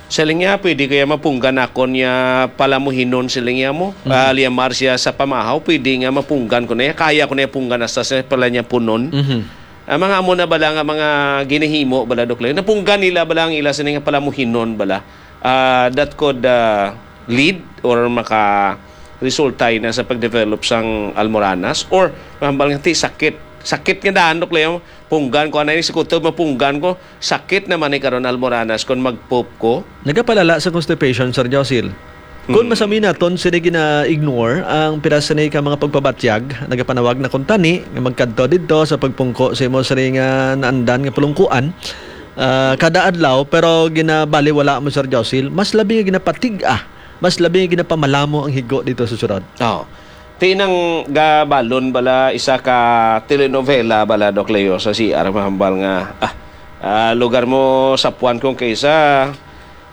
Siling niya, pwede kaya mapunggan ako niya palamuhinon, siling niya mo. Mhm. Ah, liyamar siya sa pamahaw, pwede nga mapunggan ko na niya. Kaya ko na niya punggan hasta sa pala niya punon. Mhm. Ang mga amo na bala nga mga ginahimo bala, Doc Leo, napunggan nila bala ang ila sini nga palamuhinon bala, ah, that could, ah, lead or maka, resulta na sa pag-develop sang almoranas, or mahambal nga ti sakit, sakit nga daan, Doc Leo, punggan ko anay ni si kutob, mapunggan ko, sakit naman ni karon almoranas kung mag-poop ko. Nagapalala sa constipation, Sir Josil. Kung Mm. masami naton sini gina-ignore ang pira sini ka mga pagpabatyag, nagapanawag na kuntani nga magkadto didto sa pagpungko sa imo sini nga naandan nga pulungkuan, ah, kada adlaw, pero ginabaliwala mo, Sir Josil, mas labi nga ginapatig-a, mas labi nga ginapamalamo ang higo dito sa sulod. Oh. Ti nang gabalon bala isa ka telenovela bala, Doc Leo, sa C R, mahambal nga, ah, ah, lugar mo sa puwan kung kaysa,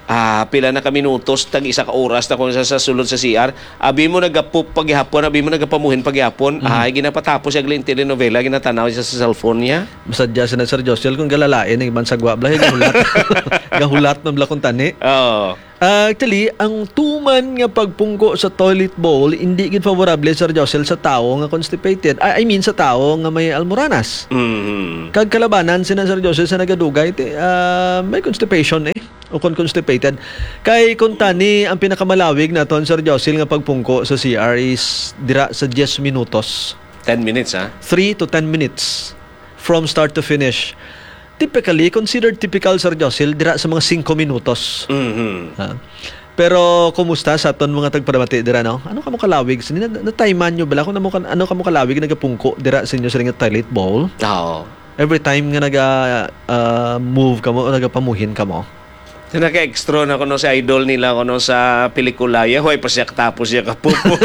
ah, pila na ka minutos, tag isa ka oras na kung sa, sa sulod sa C R. Abi mo nagapup paghihapon, abi mo nagapamuhin paghihapon. Mhm. Ay, ginapatapos siya gali ang telenovela, ginatanaw siya sa cellphone niya. Masadya sina Sir Josel kung galalain ang iban sagwa bala, gahulat. Gahulat man bala kung tani. Oo. Ah, actually, ang tuman nga pagpungko sa toilet bowl, hindi gid favorable, Sir Josel, sa tawo nga constipated. Ah, I mean, sa tawo nga may almoranas. Mhm. Kag kalabanan sina Sir Josel sa nagadugay, ti, ah, may constipation eh. O kon constipated. Kay kung tani, ang pinakamalawig naton, Sir Josel, nga pagpungko sa C R is dira sa diyes minutos. Ten minutes, ha? Three to ten minutes from start to finish. Typically, considered typical, Sir Josel, dira sa mga singko minutos. Mhm. Ha? Pero kumusta sa aton mga tagparamati dira, no? Ano kamo kalawig? Sini na, natayman nyo bala kung ano, ano kamo kalawig nagapungko dira sa inyo sa nga toilet bowl? Oo. Every time nga naga, ah, move kamo o nagapamuhin kamo? Naka-extra na kuno si idol nila kuno sa pelikula. Ya, huwag pa siya katapos siya kapupo.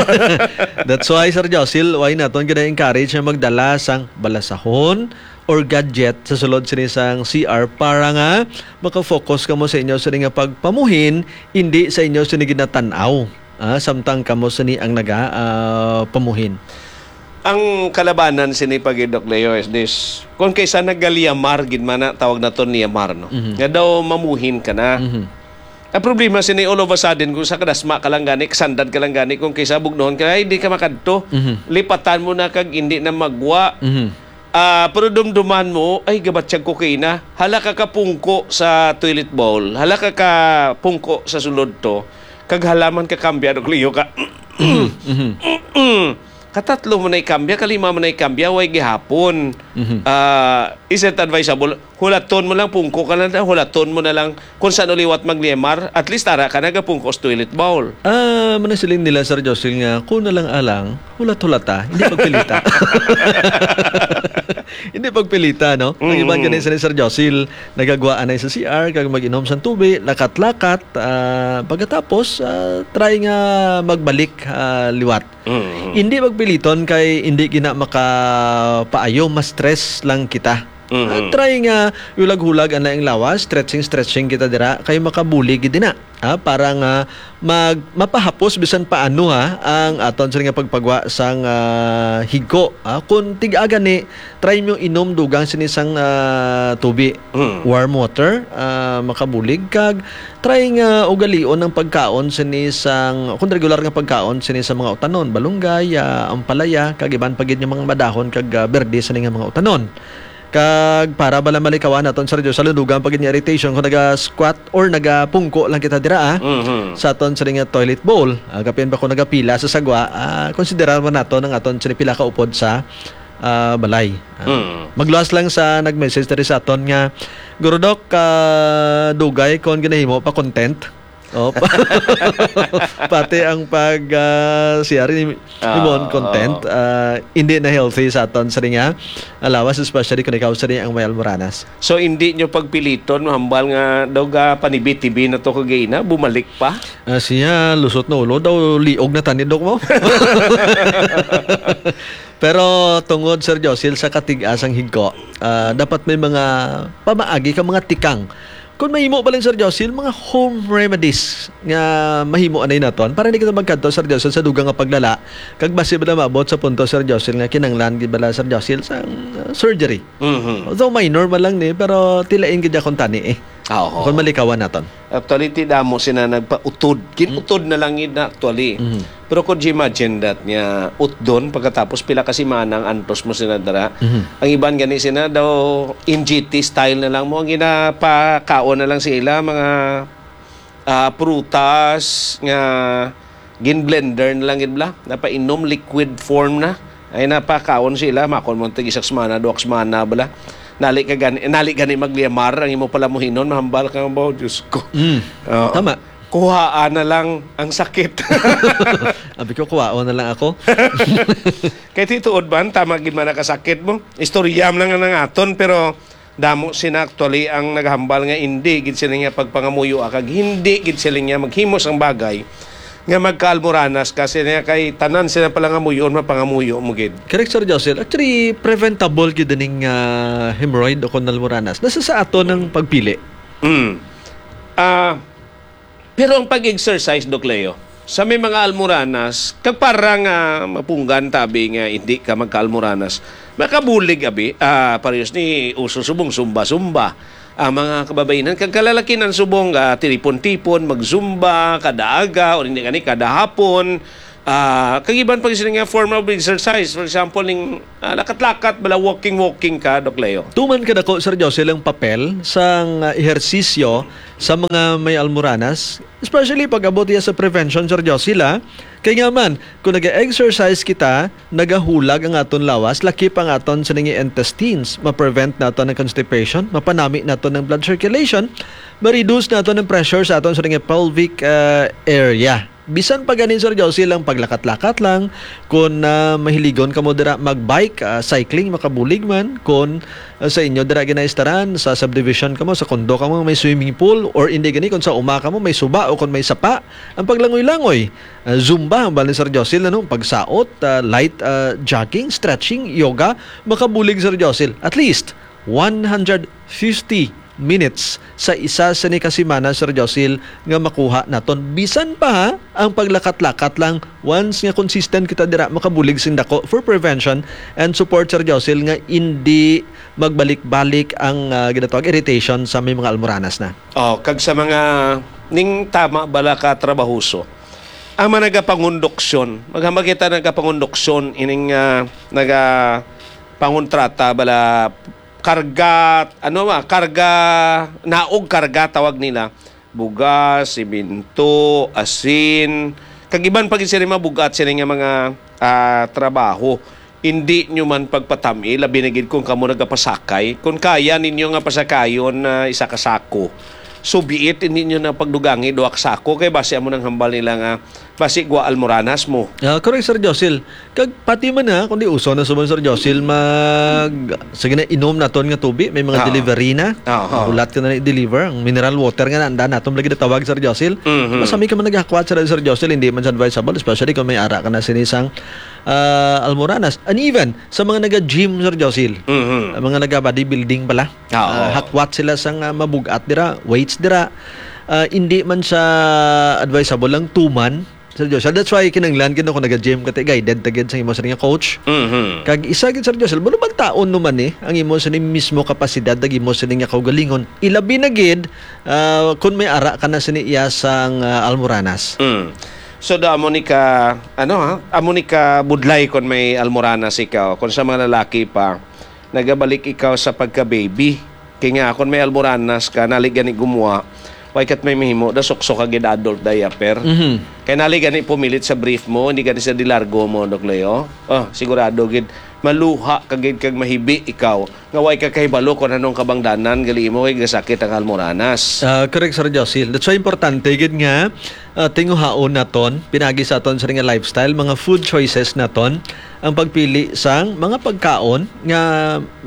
That's why, Sir Josil, why naton gina-encourage nga magdala sang balasahon or gadget sa sulod sini sang C R para nga makafocus kamo sa inyo sini nga pagpamuhin, hindi sa inyo sini ginatan-aw. Ah, samtang kamo sini ang naga, ah, pamuhin. Ang kalabanan sini pa gid, Doc Leo, is this. Kung kaysa nagaliyamar gid man na, tawag naton liyamar, no? Mhm. Nga daw mamuhin ka na. Mhm. Ang problema sini, all of a sudden, kung sa kadasma ka lang gani, kasandad ka lang gani, kung kaysa bugnohon ka, ay, di ka makadto. Mhm. Lipatan mo na kag hindi na magwa. Mhm. Ah, pero dumduman mo, ay, gabatyag ko kay na. Hala ka kapungko sa toilet bowl. Hala ka kapungko sa sulod to. Kag halaman ka kambya, Doc Leo, ka. Mhm. Mhm. Katatlo mo na ikambya, kalima mo na ikambya, way gihapon. Mhm. Ah, is it advisable? Hulaton mo lang, pungko ka lang, hulaton mo na lang kung saan liwat magliyamar. At least, tara ka, nagapungko sa toilet bowl. Ah, manasiling nila, Sir Josel, nga, kung na lang alang, hulat-hulata, hindi pagpilita. Hindi pagpilita, no? Ang iban Mm. gani sa ni Sir Josil, nagagwaan na sa C R, kag mag-inom sa tubi, lakat-lakat, ah, pagkatapos, ah, try nga magbalik, ah, liwat. Mm. Hindi pagpiliton kay hindi gina makapaayo, ma-stress lang kita. Mm. Ah, try nga hulag-hulag ang laing lawas, stretching, stretching kita dira, kay makabulig gid na. Ah, para nga mag-, mapahapos bisan paano, ha, ang aton sini nga pagpagwa sang, ah, higko, ha. Kung tig-a gani, try mo inom dugang sini sang, ah, tubi. Mm. Warm water, ah, makabulig kag try nga ugalion ang pagkaon sini sang, kung regular nga pagkaon sini sa mga utanon, balunggay, ah, ampalaya, kag iban pa gid nga mga madahon kag, ah, berde sini nga mga utanon. Kag para bala malikawan naton, Sir Joe, sa lundugan pa gid nga irritation kung naga-squat or nagapungko lang kita dira, ah, Mhm. sa aton sini nga toilet bowl. Ah, kapin pa kung nagapila sa sagwa, ah, konsiderar man naton ang aton sini pila ka upod sa, ah, balay. Ah, Mm. Magluwas lang sa nag-message diri sa aton nga, "Guro Doc, ah, dugay kon ginahimo pa content." Oh, pa-, pati ang pag, ah, C R ni, ni Ah, Mon content, oo. Ah, hindi na healthy sa aton sa ringa alawas, especially kung ikaw sa rin ang may almoranas. So, hindi nyo pagpiliton, mahambal nga daw ga panibi-tibi na to kagina, bumalik pa? Ah, siya, lusot na ulo, daw liog na tani, Dok, mo. Pero tungod, Sir Josil, sa katigas ang higko, ah, dapat may mga pamaagi ka, mga tikang. Kung mahimo ba lang, Sir Josil, mga home remedies nga mahimo anay naton para hindi kita magkadto, Sir Josil, sa dugang nga paglala, kag basi ba na maabot sa punto, Sir Josil, nga kinanglan gid bala, Sir Josil, sa, uh, surgery? Mhm. Although minor man lang ni, pero tilain gid akong tani eh. Ah, oo. Kung malikawan naton. Actually, ti damo sina nagpautod. Kin-utod na lang gid na actually. Mhm. Pero could you imagine that nga utdon pagkatapos pila ka semana ang antos mo sina dara? Mhm. Ang iban gani sina daw N G T style na lang mo. Ang ginapakaon na lang sila mga, ah, prutas nga Gin-blender na lang gid bala. Napainom liquid form na. Ay, napakaon sila. Makon mo tig isang semana, duha ka semana bala. Nali ka gani, nali gani magliyamar ang imo palamuhinon, mahambal ka ba, Diyos ko. Mm. Oo. Tama. Kuhaan na lang ang sakit. Abi ko, kuhaon na lang ako. Kay tinuod man, tama gid man nakasakit mo. Istorya man lang ang aton, pero damo sina actually ang naghambal nga hindi gid sila nga pagpangamuyo, kag hindi gid sila nga maghimo sang bagay nga magkaalmoranas, kasi niya kay tanan sila pala nga muyon, mapangamuyo mo gid. Correct, Sir Josel. Actually, preventable gid ning, ah, hemorrhoid o kon almoranas. Nasa sa aton ang pagpili. Mm. Ah, pero ang pag-exercise, Doc Leo, sa may mga almoranas, kag para nga mapunggan tabi nga hindi ka magkaalmoranas, makabulig abi, ah, parehas ni uso subong zumba-zumba. Ang mga kababainan kag kalalakinan subong, ah, tilipon-tipon, mag-zumba kada aga o hindi gani kada hapon. Ah, kag iban pa sini nga form of exercise, for example, ning, ah, lakat-lakat bala, walking-walking ka, Doc Leo. Tuman kadako, Sir Josel, ang papel sang, ah, ehersisyo sa mga may almoranas, especially pag abot iya sa prevention, Sir Josel, ah. Kay nga man, kung nag-exercise kita, nagahulag ang aton lawas, lakip ang aton sa nga intestines, ma-prevent nato ng constipation, mapanami nato ng blood circulation, ma-reduce nato ng pressure sa aton sa nga pelvic, ah, area. Bisan pa gani, Sir Josel, ang paglakat-lakat lang, kung, ah, mahiligon kamo dira mag-bike, ah, cycling, makabulig man, kung, ah, sa inyo dira ginaistaran, sa subdivision kamo, sa condo kamo, may swimming pool, or hindi gani, kung sa uma kamo, may suba o kung may sapa, ang paglangoy-langoy, ah, zumba, ang bali, Sir Josel, ano, pagsaot, ah, light, ah, jogging, stretching, yoga, makabulig, Sir Josel. At least, one hundred fifty minutes sa isa sa ni ka semana, Sir Josel, nga makuha naton. Bisan pa, ha, ang paglakat-lakat lang, once nga consistent kita dira, makabulig sing dako for prevention and support, Sir Josel, nga hindi magbalik-balik ang, ah, ginatawag irritation sa may mga almoranas na. Oh, kag sa mga ning tama bala ka trabahoso, ang mga nagapangonduksyon, maghambal kita nagapangonduksyon, ining, ah, nagapangontrata bala, karga, ano ba, karga, naog karga tawag nila, bugas, simento, asin, kag iban pa gid sila mga bugat sila nga mga, ah, trabaho. Hindi nyo man pagpatami, labi na gid kung kamo nagapasakay. Kung kaya ninyo nga pasakayon na isa ka sako, subiit, hindi nyo na pagdugangi duha ka sako, kay basi amo nang hambal nila nga basi gwa almoranas mo. Ah, correct, Sir Josil. Kag pati man, ha, kundi uso na subong, Sir Josil, mag, sige na, inom naton nga tubi, may mga Oo. delivery na. Oo. Hulat ka na ni deliver. Ang mineral water nga nanda naton lagi natawag, Sir Josil. Mhm. Basta may ka man naghakwat, Sir, Sir Josil, hindi man siya advisable, especially kung may ara ka na sinisang, ah, almoranas. And even sa mga naga-gym, Sir Josil, Mhm. ang mga naga-bodybuilding pala, Oo. ah, hakwat sila sang, ah, mabugat dira, weights dira. Ah, hindi man siya advisable ang tuman, Sir Joshua. That's why kinahanglan gid kung naga-gym ka, guided ta gid sa imo sa nga coach. Mhm. Kag isa gid, Sir Joshua, manubantaon naman ni ang imo sa ni mismo kapasidad, ang imo sa nga kaugalingon. Ilabi na gid, ah, kung may ara ka na sa ni iya sang, ah, almoranas. Mm. So, da, amo ni ka, ano, ha? Amo ni ka budlay kung may almoranas ikaw. Kung sa mga lalaki pa, nagabalik ikaw sa pagka-baby. Kay nga, kung may almoranas ka, nali gani gumuha, way kat may mahimo, da suksok ka gid adult diaper. Mhm. Kay nali gani pumilit sa brief mo, hindi gani sa dilargo mo, Doc Leo. Oh, sigurado gid, maluha ka gid kag mahibi ikaw. Nga way ka kahibalo kung anong kabangdanan, gali mo kay gasakit ang almoranas. Ah, correct, Sir Josil. That's why importante gid nga, ah, tinguhaon naton, pinagi sa aton sa nga lifestyle, mga food choices naton, ang pagpili sang mga pagkaon nga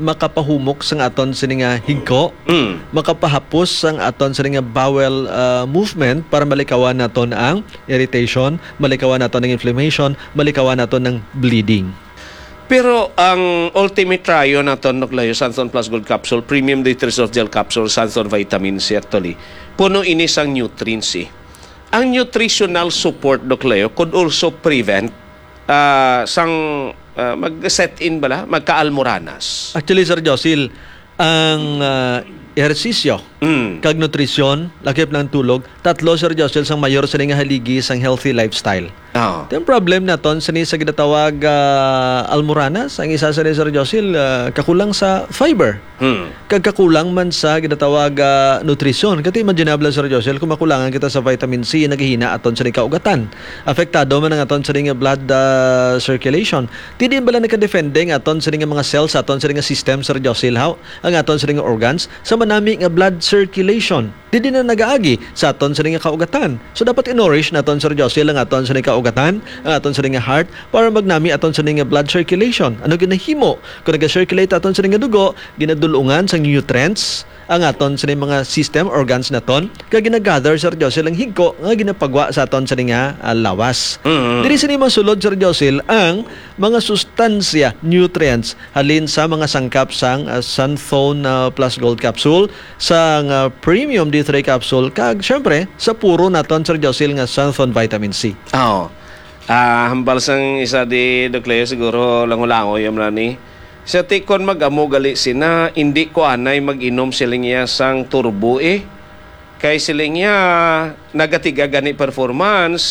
makapahumok sang aton sini nga higko, Mm. makapahapos sang aton sini nga bowel, ah, movement para malikawan naton ang irritation, malikawan naton ang inflammation, malikawan naton ang bleeding. Pero ang ultimate trio naton, Doc Leo, Santon Plus Gold Capsule, Premium D three Soft Gel Capsule, Santon Vitamin C, actually, puno ini sang nutrients, eh. Ang nutritional support, Doc Leo, could also prevent, ah, sang, ah, mag-set in bala, magka-almoranas. Actually, Sir Josil, ang, ah, ehersisyo Mm. kag nutrisyon, lakip ng tulog, tatlo, Sir Josil, sang mayor sini nga haligi sang healthy lifestyle. Oo. Ito ang problem naton sini sa ginatawag, ah, almoranas. Ang isa sini, Sir Josil, ah, kakulang sa fiber. Hmm. Kag kakulang man sa ginatawag, ah, nutrisyon. Kati imaginable, Sir Josil, kung makulangan kita sa vitamin C, naghihina aton sini kaugatan. Apektado man ang aton sini nga blood, ah, circulation. Ti di bala nakadefende ang aton sini nga mga cells, sa aton sini nga system, Sir Josil, haw? Ang aton sini nga organs, sa manami nga blood circulation. Didi na nagaagi sa aton sini nga kaugatan. So, dapat i-nourish naton, Sir Josil, ang aton sini nga kaugatan, ang aton sini nga heart, para magnami aton sini nga blood circulation. Ano ginahimo? Kung naga-circulate aton sini nga dugo, ginadulungan sang nutrients ang aton sini mga system organs naton, kag ginagather, Sir Josil, ang higko nga ginapagwa sa aton sini nga, ah, lawas. Mm. Diri sini masulod, Sir Josil, ang mga sustansya, nutrients, halin sa mga sangkap sang, ah, Santhone, ah, Plus Gold Capsule, sang, ah, Premium D three Capsule, kag, syempre, sa puro naton, Sir Josil, nga Santhone Vitamin C. Oo. Ah, hambal sang isa di, Doc Leo, siguro lango-lango yun na ni. Sa tikon mag-amo gali sina, hindi ko anay mag-inom siling iya sang turbo eh. Kay siling iya, nagatiga gani performance,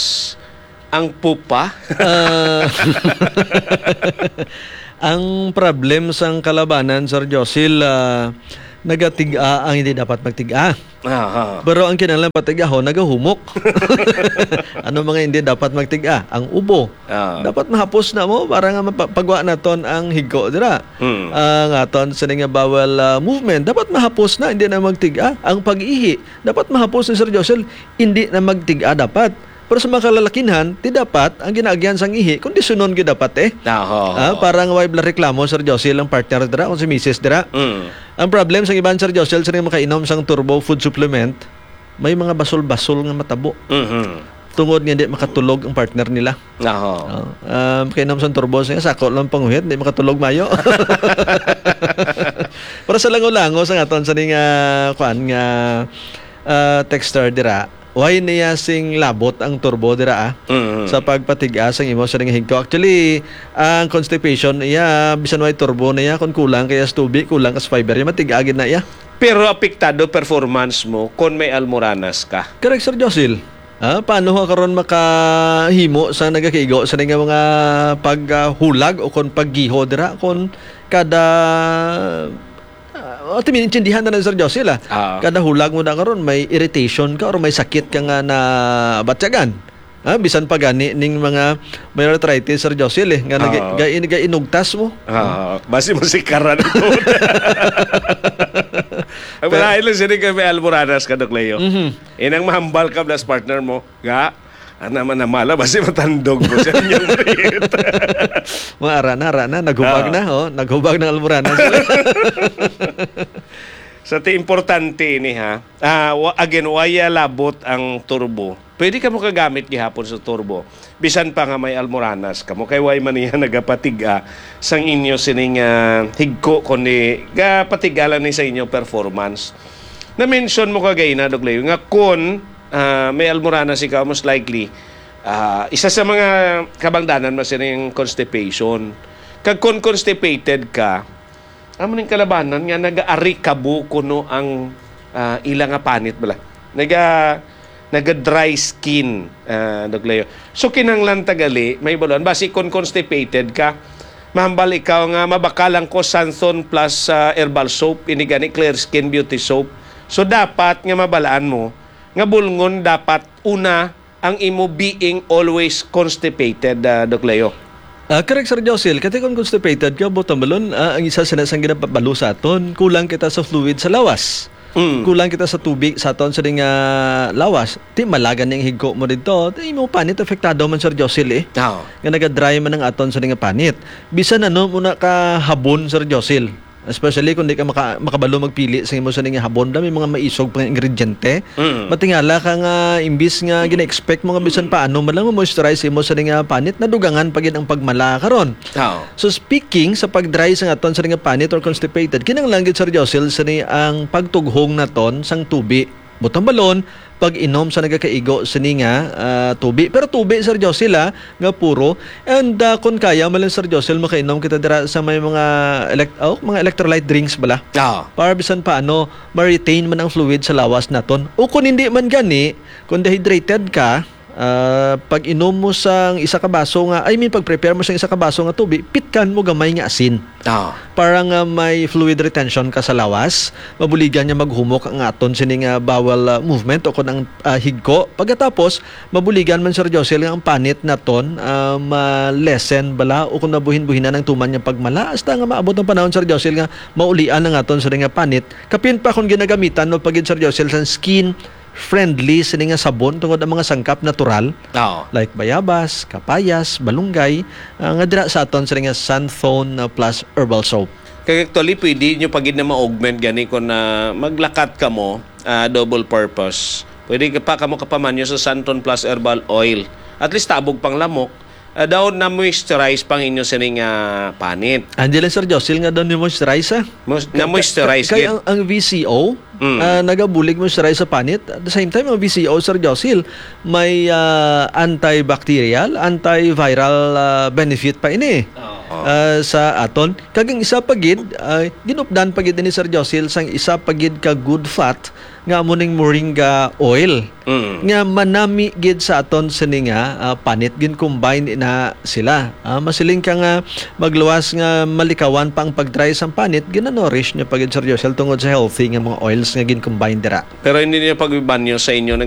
ang pupa. Ah, ang problem sang kalabanan, Sir Josil, ah, nagatig-a ang hindi dapat magtig-a. Aha. Pero ang kinahanglan patig-ahon, nagahumok. Ano mga hindi dapat magtig-a? Ang ubo. Ah. Dapat mahapos na mo para nga mapa-, pagwa naton ang higko dira. Hmm. Ang aton sini nga bowel, ah, movement, dapat mahapos na, hindi na magtig-a. Ang pag-ihi, dapat mahapos na, Sir Josil, hindi na magtig-a dapat. Pero sa mga kalalakinhan, ti dapat ang ginaagyan sang ihi, kondisyonon gyud dapat eh. Ah, ho, Ah, ho. para nga way bala reklamo, Sir Josil, ang partner dira, kung si misis dira. Mm. Ang problem sang iban, Sir Josil, sa mga makainom sang turbo food supplement, may mga basol-basol nga matabo. Mhm. Tungod nga di makatulog ang partner nila. Ah, ho. Oh, ah, makainom sang turbo, siya, sako lang panguhit, di makatulog mayo. Pero sa lango-lango sa aton sa ning, ah, kuan nga, ah, texter dira, why niya sing labot ang turbo dira, ah? Mm. Sa pagpatig-a sang imo sa ning higko. Actually, ang constipation iya, bisan way turbo na iya, kung kulang kaya sa tubig, kulang ka sa fiber, iya matig-a gid na iya. Pero apektado performance mo kung may almoranas ka. Correct, Sir Josil. Ah, paano ka karon makahimo sa nagakaigo sa nga mga paghulag o kon paggiho dira kon kada, ah, ati, maintindihan na lang, Sir Josil, ah. Ah. Kada hulag mo na karon, may irritation ka or may sakit ka nga nabatyagan. Ah, bisan pa gani ning mga may arthritis, Sir Josil, eh, nga nag-, Ah. ga-, ga-, inugtas mo. Ah, basi mo si Karan ito. Ang Pero malain lang sini kay may almoranas ka, Doc Leo. Mhm. Inang mahambal ka, plus partner mo. Ga, ana man na mala, basi matandog mo sa inyong breed. Mga ara na, ara na, naghubag Ah. na, oh. Naghubag ng almoranas. Sa ti importante ini, ha. Ah, wa-, again, waya labot ang turbo. Pwede ka mo kagamit gihapon sa turbo. Bisan pa nga may almoranas ka mo, kay way man niya nagapatig-a sang inyo sining, ah, higko, kundi gapatig-a lang ni sa inyo performance. Na-mention mo kagay na, Doc Leo, nga kun, ah, may almoranas ikaw, most likely, ah, isa sa mga kabangdanan mas yung constipation. Kag kun constipated ka, amo ning kalabanan nga nagaarikabo kuno ang, ah, ila nga panit bala. Naga, naga-dry skin, ah, Doc Leo. So, kinahanglan tagali, may baluan. Basi kung constipated ka, mahambal ikaw nga mabakalan ko Santhon plus, ah, herbal soap, ini gani Clear Skin Beauty Soap. So, dapat nga mabalaan mo nga bulngon dapat una ang imo being always constipated, ah, Doc Leo. Ah, correct, Sir Josil. Kati kung constipated ka, buot silingon, ah, ang isa sina sang ginapabalo sa aton, kulang kita sa fluid sa lawas. Mm. Kulang kita sa tubig sa aton sa nga lawas. Ti malagan ning higko mo dito. Ti imo panit apektado man, Sir Josil, eh. Oo. Nga naga-dry man ang aton sa nga panit. Bisan ano mo na ka habon, Sir Josil. Especially kung di ka maka-, makabalo magpili sa imo sa nga habon, da may mga maisog pa nga ingrediente. Mm. Matingala ka nga imbis nga gina-expect mo nga bisan paano man lang ma-moisturize imo sa nga panit, nadugangan pa gid ang pagmala karon. Oo. So, speaking sa pag-dry sa aton sa nga panit or constipated, kinahanglan gid, Sir Josil, sa ni ang pagtughong naton sang tubi. Buot silingon, pag-inom sa nagakaigo sini nga, ah, tubi. Pero tubi, Sir Josil, ah, nga puro. And, ah, kung kaya man lang, Sir Josil, makainom kita dira sa may mga elect-, oh, mga electrolyte drinks bala. Ah. Para bisan pa, ano, ma-retain man ang fluid sa lawas naton. O kung hindi man gani, kung dehydrated ka, Ah, pag-inom mo sang isa ka baso nga, I mean, pag-prepare mo sang isa ka baso nga tubi, pitkan mo gamay nga asin. Ah. Para nga may fluid retention ka sa lawas, mabuligan nga maghumok ang aton sini nga bowel, ah, movement o kon ang, ah, higko. Pagkatapos, mabuligan man, Sir Josel, nga ang panit naton, ah, ma-lessen bala o kung nabuhin-buhinan ang tuman nga pagmala, hasta nga maabot ang panahon, Sir Josel, nga maulian ang aton sini nga panit. Kapin pa kung ginagamitan mo pa gid, Sir Josel, sang skin friendly sini nga sabon tungod ang mga sangkap natural, Oo. like bayabas, kapayas, balunggay, ah, nga dira sa aton sini nga Santhone, ah, Plus Herbal Soap. Kaya actually, pwede nyo pa gid na ma-augment gani kung na maglakat ka mo, ah, double purpose. Pwede ka pa kamo kapamanyo sa Santon Plus Herbal Oil. At least tabog pang lamok. Ah, daw na-moisturize pang inyo sining ah, panit. Angela, Sir Josil, nga daw ni moisturize, ah. Mos- na-moisturize Kay gid. ang, ang V C O, Mm. ah, nagabulig moisturize sa panit. At the same time, ang V C O, Sir Josil, may ah, antibacterial, antiviral ah, benefit pa ini. Oo. Ah, sa aton. Kag ang isa pa gid, ah, ginupdan pa gid ni Sir Josil sang isa pa gid ka good fat nga amo ning moringa oil. Mm. Nga manami gid sa aton sini nga ah, panit, gin-combine na sila. Ah, masiling ka nga magluwas nga malikawan pa ang pag-try sang panit, gina-nourish niya pa gid, Sir Josil, tungod sa healthy nga mga oils nga gin-combine dira. Pero hindi niyo pagbibanyo sa inyo